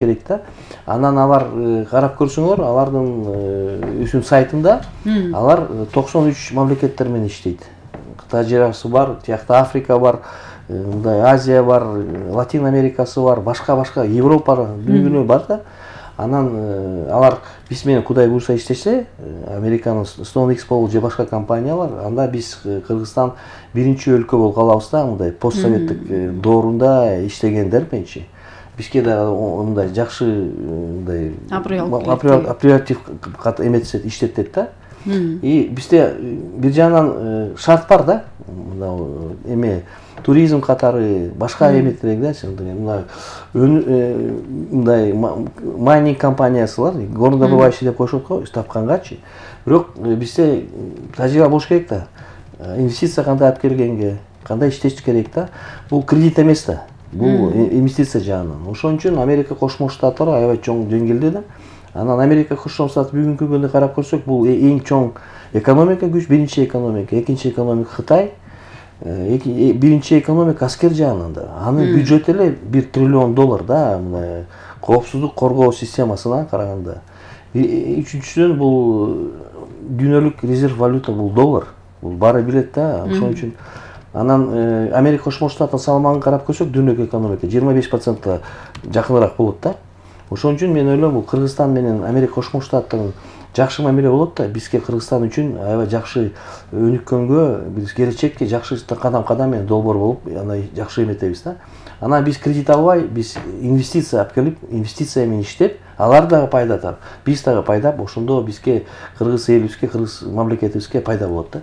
керек да. Анан алар карап көрсөңөр, алардын үчүн сайтында алар 93 мамлекеттер менен иштейт. Кытай жарасы бар, тиякта Африка бар, мындай Азия бар, Латин Америкасы бар, башка Европа дүнүйгө бар да. Анан алар биз менен Кудай буйруса иштесе, Американын StoneX болуп же башка компаниялар, анда биз Кыргызстан биринчи өлкө болуп калабыз да, мындай постсоветтик доорунда иштегендер менчи. Бизге да мындай жакшы мындай оператив эметсе иштетет да. И бизде бир жагынан шарт бар да. Эме туризм катары башка эметтерге да, мындай майнинг компаниясылар горнодобывающий деп коюшат го тапкангачы. Бирок бизде тажрыйба болуш керек да. Инвестиция кандай алып келгенге, кандай иштеш керек да. Бул кредит эмес да. Бул инвестиция жагынан. Ошон үчүн Америка Кошмо Штаттары аябай чоң деңгээлде да. Анан Америка Кошмо Штат бүгүнкү күндө карап көрсөк, бул эң чоң экономика күч, биринчи экономика, экинчи экономика Кытай, биринчи экономика аскер жагынан да. Анын бюджети эле $1 триллион да, мына коопсуздук коргоо системасына караганда. Үчүнчүдөн бул дүйнөлүк резерв валюта бул доллар. Бул баары билет да. Ошон үчүн анан Америка Кошмо Штаттын салмагын карап көрсөк, дүйнөлүк экономика 25% жакыныраак болот да. Ошон үчүн мен ойлойм, бул Кыргызстан менен Америка Кошмо Штаттын жакшы мамиле болот да. Бизге Кыргызстан үчүн аябай жакшы өнүккөнгө, биз келечекке жакшы кадам менен долбоор болуп, аны жакшы эметебиз да. Анан биз кредит албай, биз инвестиция алып келип, инвестиция менен иштеп, алар дагы пайда тап, биз дагы пайда, ошондо бизге кыргыз элибизге, кыргыз мамлекетибизге пайда болот да.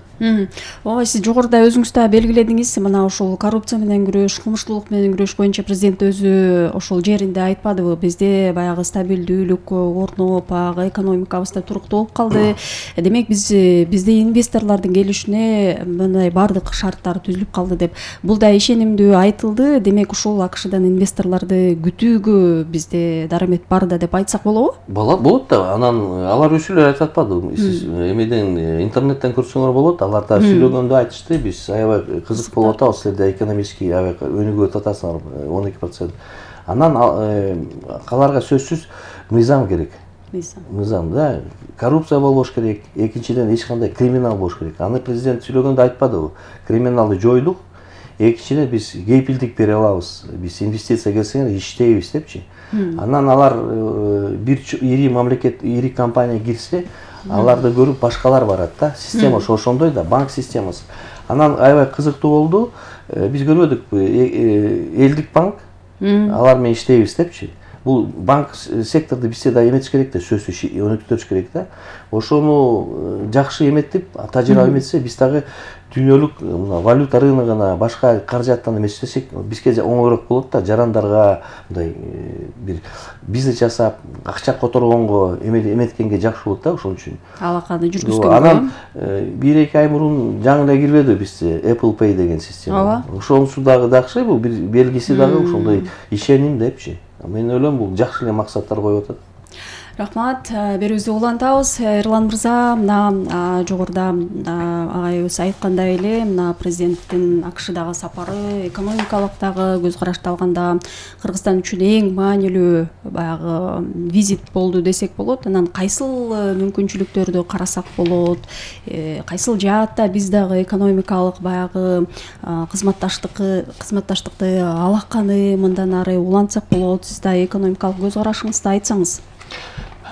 Ооба, сиз жогоруда өзүңүз да белгиледиңиз, мына ошол коррупция менен күрөш, кылмыштуулук менен күрөш боюнча президент өзү ошол жеринде айтпадыбы? Бизде баягы стабилдүүлүк орноп, баягы экономикабыз да туруктуу болуп калды. Демек бизде инвесторлордун келишине мындай бардык шарттар түзүлүп калды деп. Бул да ишенимдүү айтылды. Демек ушул АКШдан инвесторлорду күтүүгө бизде дарамет бар да деп айтсак болобу? Болот да. Анан алар өчү эле айтып атпадыбы? Сиз эмеден интернеттен көрсөңөр болот. Алар да сүйлөгөндө айтышты. Биз аябай кызык болуп атабыз, силерде экономический аябай өнүгүп атасыңар 12%. Анан аларга сөзсүз мыйзам керек. Мыйзам да. Коррупция болбош керек. Экинчиден эч кандай криминал болбош керек. Аны президент сүйлөгөндө айтпадыбы? Криминалды жойдук. Экинчиден биз кепилдик бере алабыз. Биз инвестиция келсеңер иштейбиз депчи. Анан алар бир ири мамлекет, ири компания кирсе, аларды көрүп башкалар барат да. Система ошондой да, банк системасы. Анан аябай кызыктуу болду. Биз көрбөдүкпү, элдик банк алар менен иштейбиз депчи. Бул банк секторду бизде да эметиш керек да, сөзсүз өнүктүрүш керек да. Ошону жакшы эметип, тажрыйба эметсе, биз дагы дүйнөлүк валюта рыногуна, башка каражаттан эметсек, бизге оңойрок болот да, жарандарга мындай бир бизнес жасап, акча которгонго эметкенге жакшы болот да, ошон үчүн. Алаканы жүргүзгөнгө. Анан 1-2 ай мурун жаңы эле кирбеди бизде Apple Pay деген система. Ошонусу дагы жакшы, бул бир белгиси дагы ошондой ишеним депчи. Мен ойлойм, бул жакшы эле максаттар коюп атат. Рахмат, берүүбүздү улантабыз. Эрлан мырза, мына жогоруда агайыбыз айткандай эле, мына президенттин АКШдагы сапары экономикалык дагы көз карашты алганда Кыргызстан үчүн эң маанилүү баягы визит болду десек болот. Анан кайсыл мүмкүнчүлүктөрдү карасак болот? Кайсыл жаатта биз дагы экономикалык баягы кызматташтыкты алаканы мындан ары улантсак болот? Сиз да экономикалык көз карашыңызды айтсаңыз.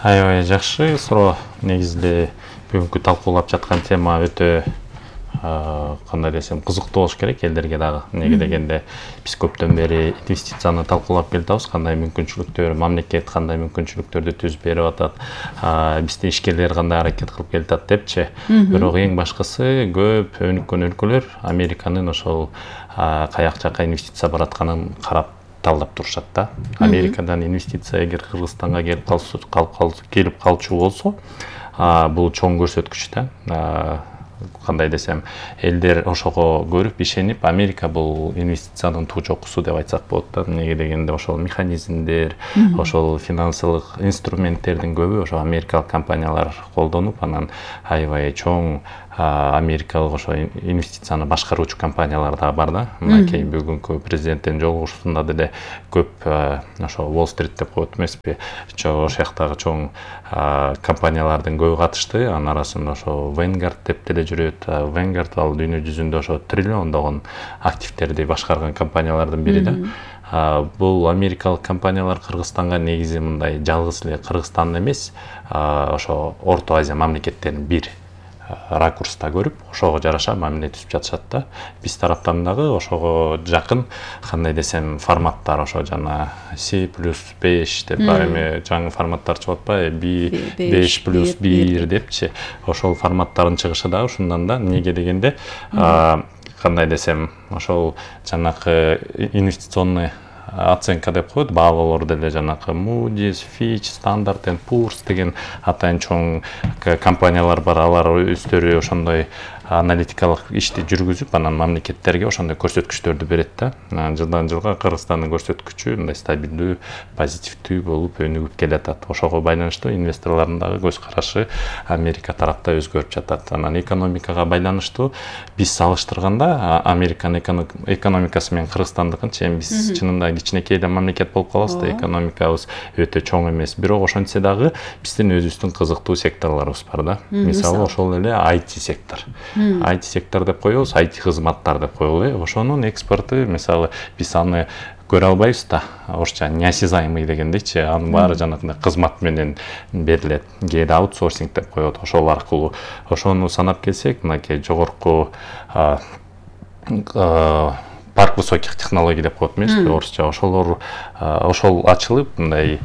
Аябай жакшы суроо. Негизинде бүгүнкү талкуулап жаткан тема өтө кандай десем кызыктуу болуш керек элдерге дагы. Неге дегенде биз көптөн бери инвестицияны талкуулап келатабыз, кандай мүмкүнчүлүктөр, мамлекет кандай мүмкүнчүлүктөрдү түзүп берип атат, бизде ишкерлер кандай аракет кылып келатат депчи. Бирок эң башкысы көп өнүккөн өлкөлөр Американын ошол каяк жака инвестиция баратканын карап талдап турушат да. Америкадан инвестиция эгер Кыргызстанга келип калчу болсо, бул чоң көрсөткүч да. Кандай десем, элдер ошого көрүп ишенип, Америка бул инвестициянын туу чокусу деп айтсак болот да. Неге дегенде ошол механизмдер, ошол финансылык инструменттердин көбү ошо америкалык компаниялар колдонуп, анан аябай чоң америкалык ошо инвестицияны башкаруучу компаниялар дагы бар да. Мынакей бүгүнкү президенттин жолугушуусунда деле көп ошо Уолл-стрит деп коет эмеспи, ошол жактагы чоң компаниялардын көбү катышты. Анын арасында ошо Vanguard деп деле жүрөт. Vanguard ал дүйнө жүзүндө ошо триллиондогон активтерди башкарган компаниялардын бири да. Бул америкалык компаниялар Кыргызстанга негизи мындай жалгыз эле Кыргызстан эмес, ошо Орто Азия мамлекеттерин бир ракурста көрүп, ошого жараша мамиле түзүп жатышат да. Биз тараптан дагы ошого жакын кандай десем форматтар ошо жана C+5 деп бар эми жаңы форматтар чыгып атпайбы, B5+1 депчи. Ошол форматтардын чыгышы дагы ушундан да. Эмнеге дегенде кандай десем, ошол жанакы инвестиционный оценка деп коет, баалоолор деле жанакы Moody's, Fitch, Standard & Poor's деген атайын чоң компаниялар бар. Алар өздөрү ошондой аналитикалык ишти жүргүзүп, анан мамлекеттерге ошондой көрсөткүчтөрдү берет да. Жылдан жылга Кыргызстандын көрсөткүчү мындай стабилдүү, позитивдүү болуп өнүгүп келатат. Ошого байланыштуу инвесторлордун дагы көз карашы Америка тарапта өзгөрүп жатат. Анан экономикага байланыштуу биз салыштырганда Американын экономикасы менен Кыргызстандыкынча эми биз чынында кичинекей эле мамлекет болуп калабыз да, экономикабыз өтө чоң эмес. Бирок ошентсе дагы биздин өзүбүздүн кызыктуу секторлорубуз бар да. Мисалы ошол эле IT сектор. IT сектор деп коебуз, IT кызматтар деп коелу. Ошонун экспорту, мисалы, биз аны көрө албайбыз да. Орусча неосязаемый дегендейчи, анын баары жанагындай кызмат менен берилет. Кээде аутсорсинг деп коет. Ошол аркылуу ошону санап келсек, мынакей жогорку парк высоких технологий деп коет эмеспи орусча. Ошол ачылып, мындай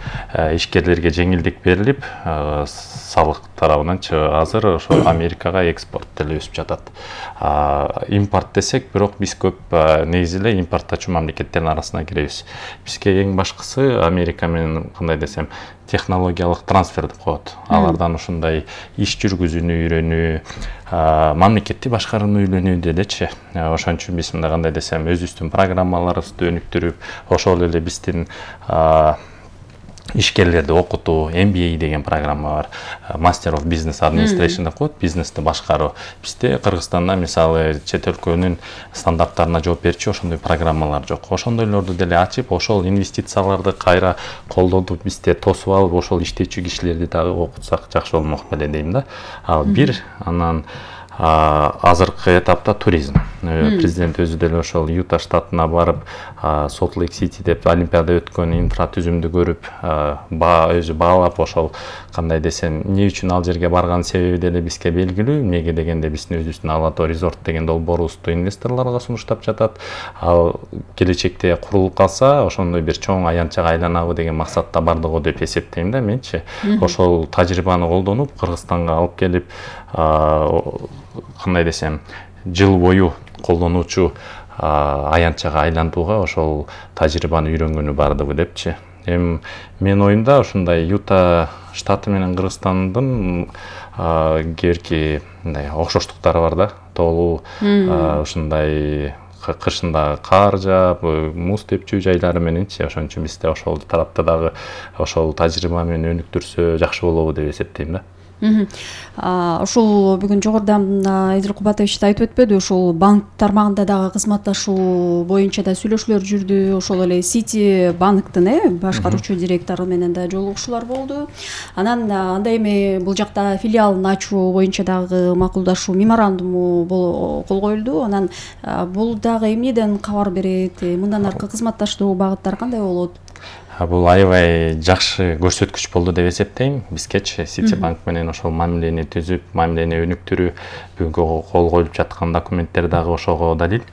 ишкерлерге жеңилдик берилип, салык тарабынанчы азыр ошо Америкага экспорт деле өсүп жатат. Импорт десек, бирок биз көп негизи эле импортточу мамлекеттердин арасына киребиз. Бизге эң башкысы Америка менен кандай десем, технологиялык трансфер деп коет. Алардан ушундай иш жүргүзүүнү үйрөнүү, мамлекетти башкарууну үйрөнүү делечи. Ошон үчүн биз мындай кандай десем, өзүбүздүн программаларыбызды өнүктүрүп, ошол эле биздин ишкерлерди окутуу, MBA деген программа бар. Master of Business Administration деп коет, бизнести башкаруу. Бизде Кыргызстанда мисалы чет өлкөнүн стандарттарына жооп берчү ошондой программалар жок. Ошондойлорду деле ачып, ошол инвестицияларды кайра колдонуп бизде тосуп алып, ошол иштечү кишилерди дагы окутсак жакшы болмок беле дейм да. Ал бир, анан азыркы этапта туризм. Президент өзү деле ошол Юта штатына барып, Солт Лейк Сити деп Олимпиада өткөн инфратүзүмдү көрүп, өзү баалап, ошол кандай десем, эмне үчүн ал жерге барган себеби деле бизге белгилүү. Эмнеге дегенде биздин өзүбүздүн Алато Резорт деген долбоорубузду инвесторлорго сунуштап жатат. Ал келечекте курулуп калса, ошондой бир чоң аянтчага айланабы деген максатта бардыгы деп эсептейм да менчи. Ошол тажрыйбаны колдонуп, Кыргызстанга алып келип, кандай десем, жыл бою колдонуучу аянтчага айлантууга ошол тажрыйбаны үйрөнгөнү бардыгы депчи. Эми менин оюмда ушундай Юта штаты менен Кыргызстандын кээ мындай окшоштуктары бар да. Тоолуу ушундай кышында кар жаап, муз тепчү жайлары мененчи. Ошон үчүн бизде ошол тарапта дагы ошол тажрыйба менен өнүктүрсө жакшы болобу деп эсептейм да. Ошол бүгүн жогоруда Эдил Кубатович да айтып өтпөдү, ошол банк тармагында дагы кызматташуу боюнча да сүйлөшүүлөр жүрдү. Ошол эле Сити банктын башкаруучу директору менен да жолугушуулар болду. Анан анда эми бул жакта филиалын ачуу боюнча дагы макулдашуу меморандуму кол коюлду. Анан бул дагы эмнеден кабар берет? Мындан аркы кызматташтуу багыттар кандай болот? Бул аябай жакшы көрсөткүч болду деп эсептейм. Бизгечи Сити банк менен ошол мамилени түзүп, мамилени өнүктүрүү, бүгүнкү кол коюлуп жаткан документтер дагы ошого далил.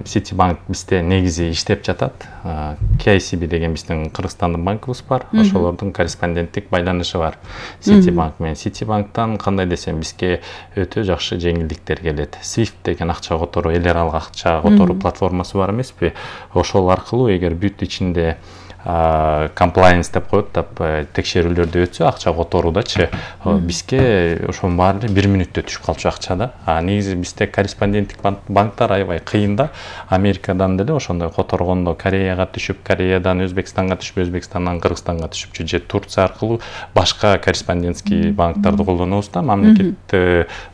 Сити банк бизде негизи иштеп жатат. KCB деген биздин Кыргызстандын банкыбыз бар. Ошолордун корреспонденттик байланышы бар Сити банк менен. Сити банктан кандай десем, бизге өтө жакшы жеңилдиктер келет. Swift деген акча которуу, эл аралык акча которуу платформасы бар эмеспи? Ошол аркылуу эгер бүт ичинде compliance деп коет, текшерүүлөрдү өтсө акча которуудачы бизге ошонун баары 1 мүнөттө түшүп калчу акча да. Негизи бизде корреспонденттик банктар аябай кыйын да. Америкадан деле ошондой которгондо Кореяга түшүп, Кореядан Өзбекстанга түшүп, Өзбекстандан Кыргызстанга түшүпчү, же Турция аркылуу башка корреспондентский банктарды колдонобуз да, мамлекет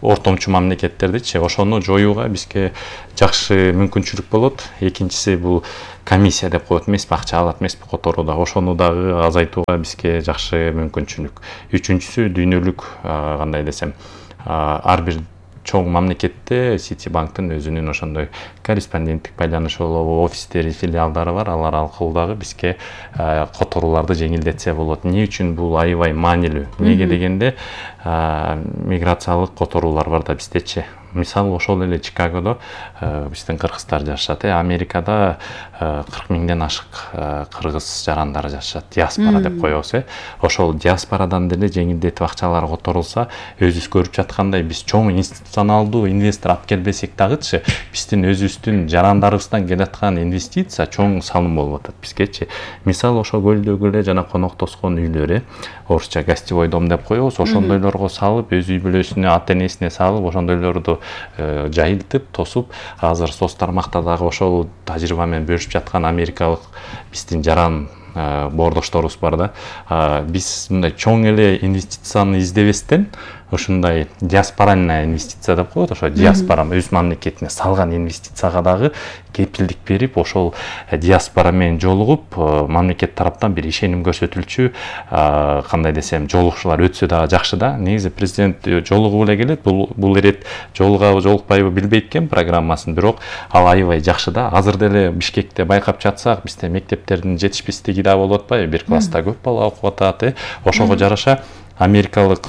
ортомчу мамлекеттердичи. Ошону жоюуга бизге жакшы мүмкүнчүлүк болот. Экинчиси бул комиссия деп коет эмеспи, акча алат эмеспи которууда. Ошону дагы азайтууга бизге жакшы мүмкүнчүлүк. Үчүнчүсү дүйнөлүк кандай десем, ар бир чоң мамлекетте Ситибанктын өзүнүн ошондой корреспонденттик байланышы болобу, офистери, филиалдары бар. Алар аркылуу дагы бизге которууларды жеңилдетсе болот. Эмне үчүн бул аябай маанилүү? Эмнеге дегенде миграциялык которуулар бар да биздечи. Мисалы ошол эле Чикагодо биздин кыргыздар жашашат. Америкада 40 миңден ашык кыргыз жарандары жашашат. Диаспора деп коебуз. Ошол диаспорадан деле жеңилдетип акчалар которулса, өзүбүз көрүп жаткандай биз чоң институционалдуу инвестор алып келбесек дагычы, биздин өзүбүздүн жарандарыбыздан келаткан инвестиция чоң салым болуп атат бизгечи. Мисалы ошо көлдөгү эле жана конок тоскон үйлөр, орусча гостевой дом деп коебуз. Ошондойлорго салып, өз үй бүлөсүнө, ата-энесине салып, ошондойлорду жайылтып, тосуп, азыр соц тармакта дагы ошол тажрыйба менен бөлүшүп жаткан америкалык биздин жаран боордошторубуз бар да. Биз мындай чоң эле инвестицияны издебестен, ушундай диаспоральная инвестиция деп коет, ошо диаспора өз мамлекетине салган инвестицияга дагы кепилдик берип, ошол диаспора менен жолугуп, мамлекет тараптан бир ишеним көрсөтүлчү, кандай десем, жолугушуулар өтсө дагы жакшы да. Негизи президент жолугуп эле келет, бул ирет жолугабы жолукпайбы билбейт экен программасын, бирок ал аябай жакшы да. Азыр деле Бишкекте байкап жатсак, бизде мектептердин жетишпестиги да болуп атпайбы, бир класста көп бала окуп атат, ошого жараша америкалык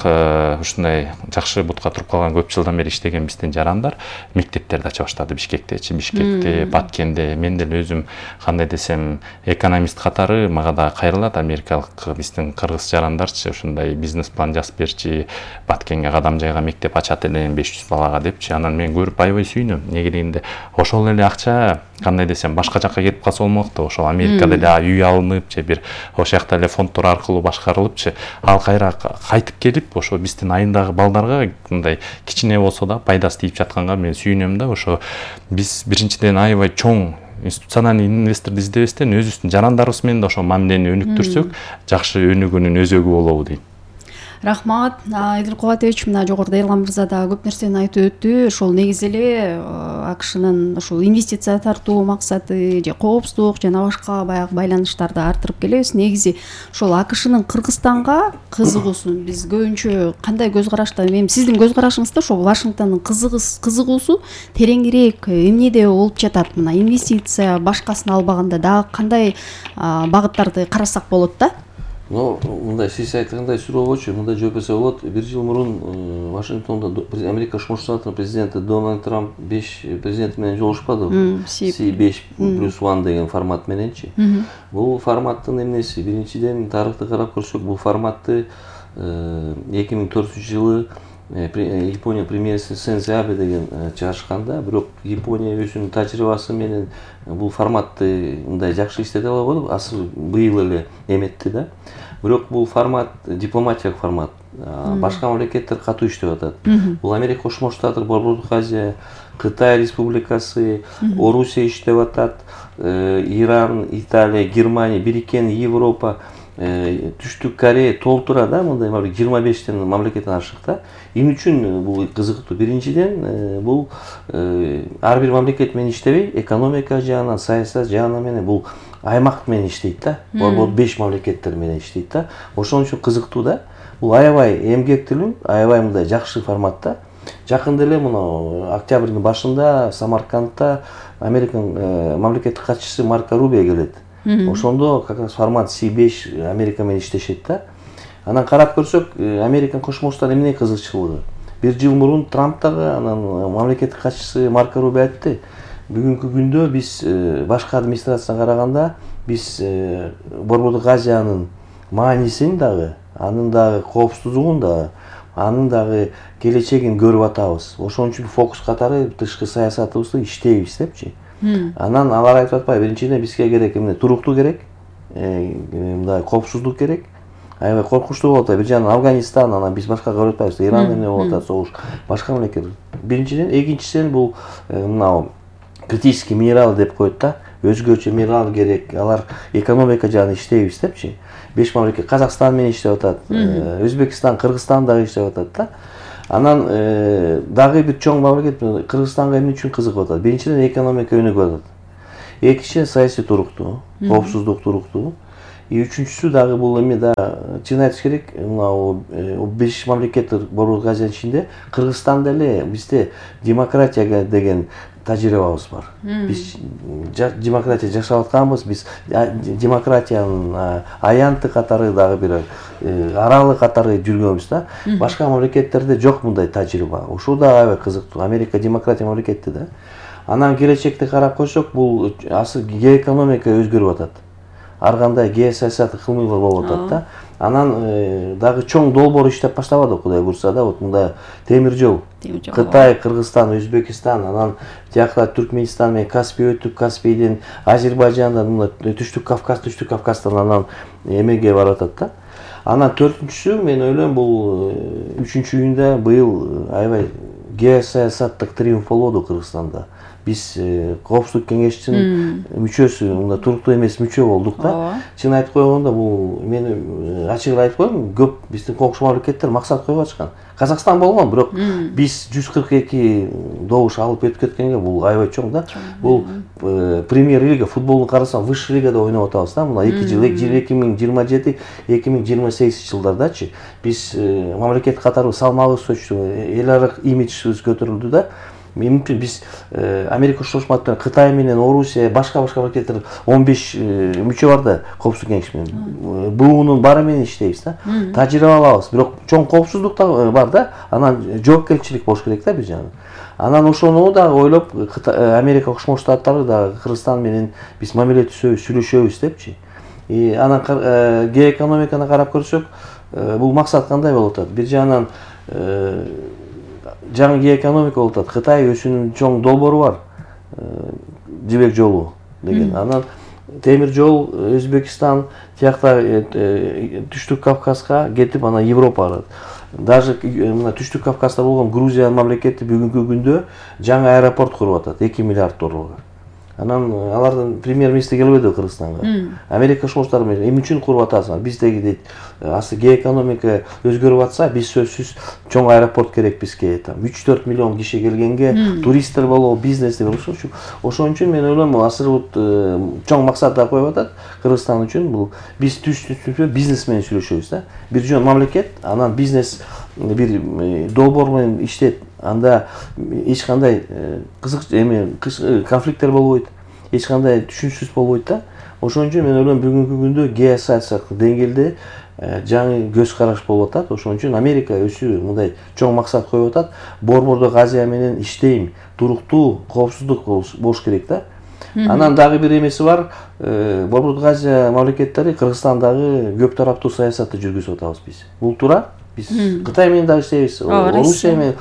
ушундай жакшы бутка туруп калган көп жылдан бери иштеген биздин жарандар мектептерди ача баштады Бишкектечи, Бишкекте, Баткенде. Мен деле өзүм кандай десем, экономист катары мага да кайрылат америкалык биздин кыргыз жарандарчы ушундай бизнес план жазып берчи, Баткенге кадам жайга мектеп ачат элем 500 балага депчи. Анан мен көрүп аябай сүйүнөм. Эмнеге дегенде ошол эле акча кандай десем башка жакка кетип калса болмок да. Ошол Америкада эле үй алынып же бир ошол жакта эле фонддор аркылуу башкарылыпчы, ал кайра кайтып келип ошо биздин айындагы балдарга мындай кичине болсо да пайдасы тийип жатканга мен сүйүнөм да. Ошо биз биринчиден аябай чоң институциональный инвесторду издебестен өзүбүздүн жарандарыбыз менен да ошо мамилени өнүктүрсөк, жакшы өнүгүүнүн өзөгү болобу дейм. Рахмат. Эдил Кубатович мына жогоруда Эрлан мырза да көп нерсени айтып өттү. Ошол негизи эле АКШнын ошол инвестиция тартуу максаты же коопсуздук жана башка баягы байланыштарды арттырып келебиз. Негизи ошол АКШнын Кыргызстанга кызыгуусун биз көбүнчө кандай көз карашта, эми сиздин көз карашыңызда ошол Вашингтондун кызыгуусу тереңирээк эмнеде болуп жатат? Мына инвестиция башкасын албаганда дагы кандай багыттарды карасак болот да? Мындай сиз айткандай сурообочу мындай жооп берсе болот. 1 жыл мурун Вашингтондо Америка Кошмо Штаттарынын президенти Дональд Трамп 5 президенти менен жолугушпадыбы? C5+1 деген формат мененчи. Бул форматтын эмнеси? Биринчиден тарыхты карап көрсөк, бул форматты 2004-жылы Япония премьериси Сензе Абе деген чыгарышканда, бирок Япония өзүнүн тажрыйбасы менен бул форматты мындай жакшы иштете албады, асыл быйыл эле эметти да. Бирок бул формат дипломатиялык формат. Башка мамлекеттер катуу иштеп атат. Бул Америка Кошмо Штаттар, Борбордук Азия, Кытай Республикасы, Орусия иштеп атат, Иран, Италия, Германия, Бириккен Европа, Түштүк Корея толтура да, мындай 25тен мамлекеттен ашык да. Эмне үчүн бул кызыктуу? Биринчиден бул ар бир мамлекет менен иштебей, экономика жагынан, саясат жагынан менен бул аймак менен иштейт да. Борбор 5 мамлекеттер менен иштейт да. Ошон үчүн кызыктуу да. Бул аябай эмгектилүү, аябай мындай жакшы форматта. Жакында эле мына октябрдын башында Самаркандта Американын мамлекеттик катчысы Марко Рубио келет. Ошондо как раз формат C5 Америка менен иштешет да. Анан карап көрсөк, Американын Кошмо Штаттар эмне кызыкчылыгы? 1 жыл мурун Трамп дагы анан мамлекеттик катчысы Марко Рубио айтты. Бүгүнкү күндө биз башка администрацияга караганда биз Борбордук Азиянын маанисин дагы, анын дагы коопсуздугун дагы, анын дагы келечегин көрүп атабыз. Ошон үчүн фокус катары тышкы саясатыбызды иштейбиз депчи. Анан алар айтып атпайбы, биринчиден бизге керек эмне? Туруктуу керек. мындай коопсуздук керек. Аябай коркунучтуу болуп атат. Бир жагынан Афганистан, анан биз башка көрүп атпайбыз. Иран эмне болуп атат, согуш. Башка мамлекет. Биринчиден, экинчисинен бул мынау критический минерал деп коет да. Өзгөчө минерал керек. Алар экономика жагынан иштейбиз депчи. 5 мамлекет Казакстан менен иштеп атат. Өзбекстан, Кыргызстан дагы иштеп атат да. Анан дагы бир чоң мамлекет Кыргызстанга эмне үчүн кызыгып атат? Биринчиден экономика өнүгүп атат. Экинчиден саясий туруктуу, коопсуздук туруктуу. Үчүнчүсү дагы бул эме да чын айтыш керек, мына 5 мамлекет Борбордук Азиянын ичинде Кыргызстанда эле бизде демократия деген тажрыйбабыз бар. Биз демократия жашап атканбыз, биз демократиянын аянты катары дагы бир аралы катары жүргөнбүз да. Башка мамлекеттерде жок мындай тажрыйба. Ушул да аябай кызыктуу. Америка демократия мамлекети да. Анан келечекти карап койсок, бул асыл геоэкономика өзгөрүп атат. Ар кандай геосаясат кылмыйлар болуп атат да. Анан дагы чоң долбоор иштеп баштабады, Кудай буйрса да, вот мындай темир жол. Кытай, Кыргызстан, Өзбекстан, анан тиякта Түркмөнстан менен Каспий өтүп, Каспийден Азербайжандан мына Түштүк Кавказдан анан эмеге барып атат да. Анан төртүнчүсү, мен ойлойм, бул 3-июнда быйыл аябай геосаясаттык триумф болду Кыргызстанда. Биз Коопсуздук кеңешинин мүчөсү, мында туруктуу эмес мүчө болдук да. Чын айтып койгондо, бул мен ачык айтып коеюн, көп биздин коопсуз мамлекеттер максат коюп атышкан. Казакстан болгон, бирок биз 142 добуш алып өтүп кеткенге бул аябай чоң да. Бул премьер-лига, футболду карасаң, высший лигада ойноп атабыз да. Мына 2 жыл, 2027-2028 жылдардачы биз мамлекет катары салмагыбыз өчтү, эл аралык имиджибиз көтөрүлдү да. Мүмкүн биз Америка Кошмо Штаттары, Кытай менен, Орусия, башка мамлекеттер 15 мүчө бар да коопсуздук кеңеш менен. Буунун баары менен иштейбиз да. Тажрыйба алабыз. Бирок чоң коопсуздук да бар да. Анан жоопкерчилик болуш керек да бир жагынан. Анан ошону да ойлоп, Америка Кошмо Штаттары да Кыргызстан менен биз мамиле түзөбүз, сүйлөшөбүз депчи. Анан геоэкономиканы карап көрсөк, бул максат кандай болуп атат? Бир жагынан жаңы геоэкономика болуп атат. Кытай өзүнүн чоң долбоору бар. Жибек жолу деген. Анан темир жол Өзбекстан, тиякта Түштүк Кавказга кетип, анан Европа барат. Даже мына Түштүк Кавказда болгон Грузия мамлекети бүгүнкү күндө жаңы аэропорт куруп атат, 2 миллиард долларга. Анан алардын премьер-министри келбеди Кыргызстанга. Америка Кошмо Штаттары менен эмне үчүн куруп атасыңар? Биздеги дейт, асыл геоэкономика өзгөрүп атса, биз сөзсүз чоң аэропорт керек бизге. 3-4 миллион киши келгенге туристтер болобу, бизнес болобу. Ошон үчүн мен ойлойм, асыл чоң максаттар коюп атат Кыргызстан үчүн. Бул биз бизнес менен сүйлөшөбүз да. Бир жөн мамлекет, анан бизнес бир долбоор менен иштейт. Анда эч кандай кызык конфликттер болбойт, эч кандай түшүнүксүз болбойт да. Ошон үчүн мен ойлойм, бүгүнкү күндө геосаясаттык деңгээлде жаңы көз караш болуп атат. Ошон үчүн Америка өзү мындай чоң максат коюп атат. Борбордук Азия менен иштейм, туруктуу, коопсуздук болуш керек да. Анан дагы бир эмеси бар. Борбордук Азия мамлекеттери Кыргызстандагы көп тараптуу саясатты жүргүзүп атабыз биз. Бул туура. Биз Кытай менен дагы иштейбиз, Орусия менен,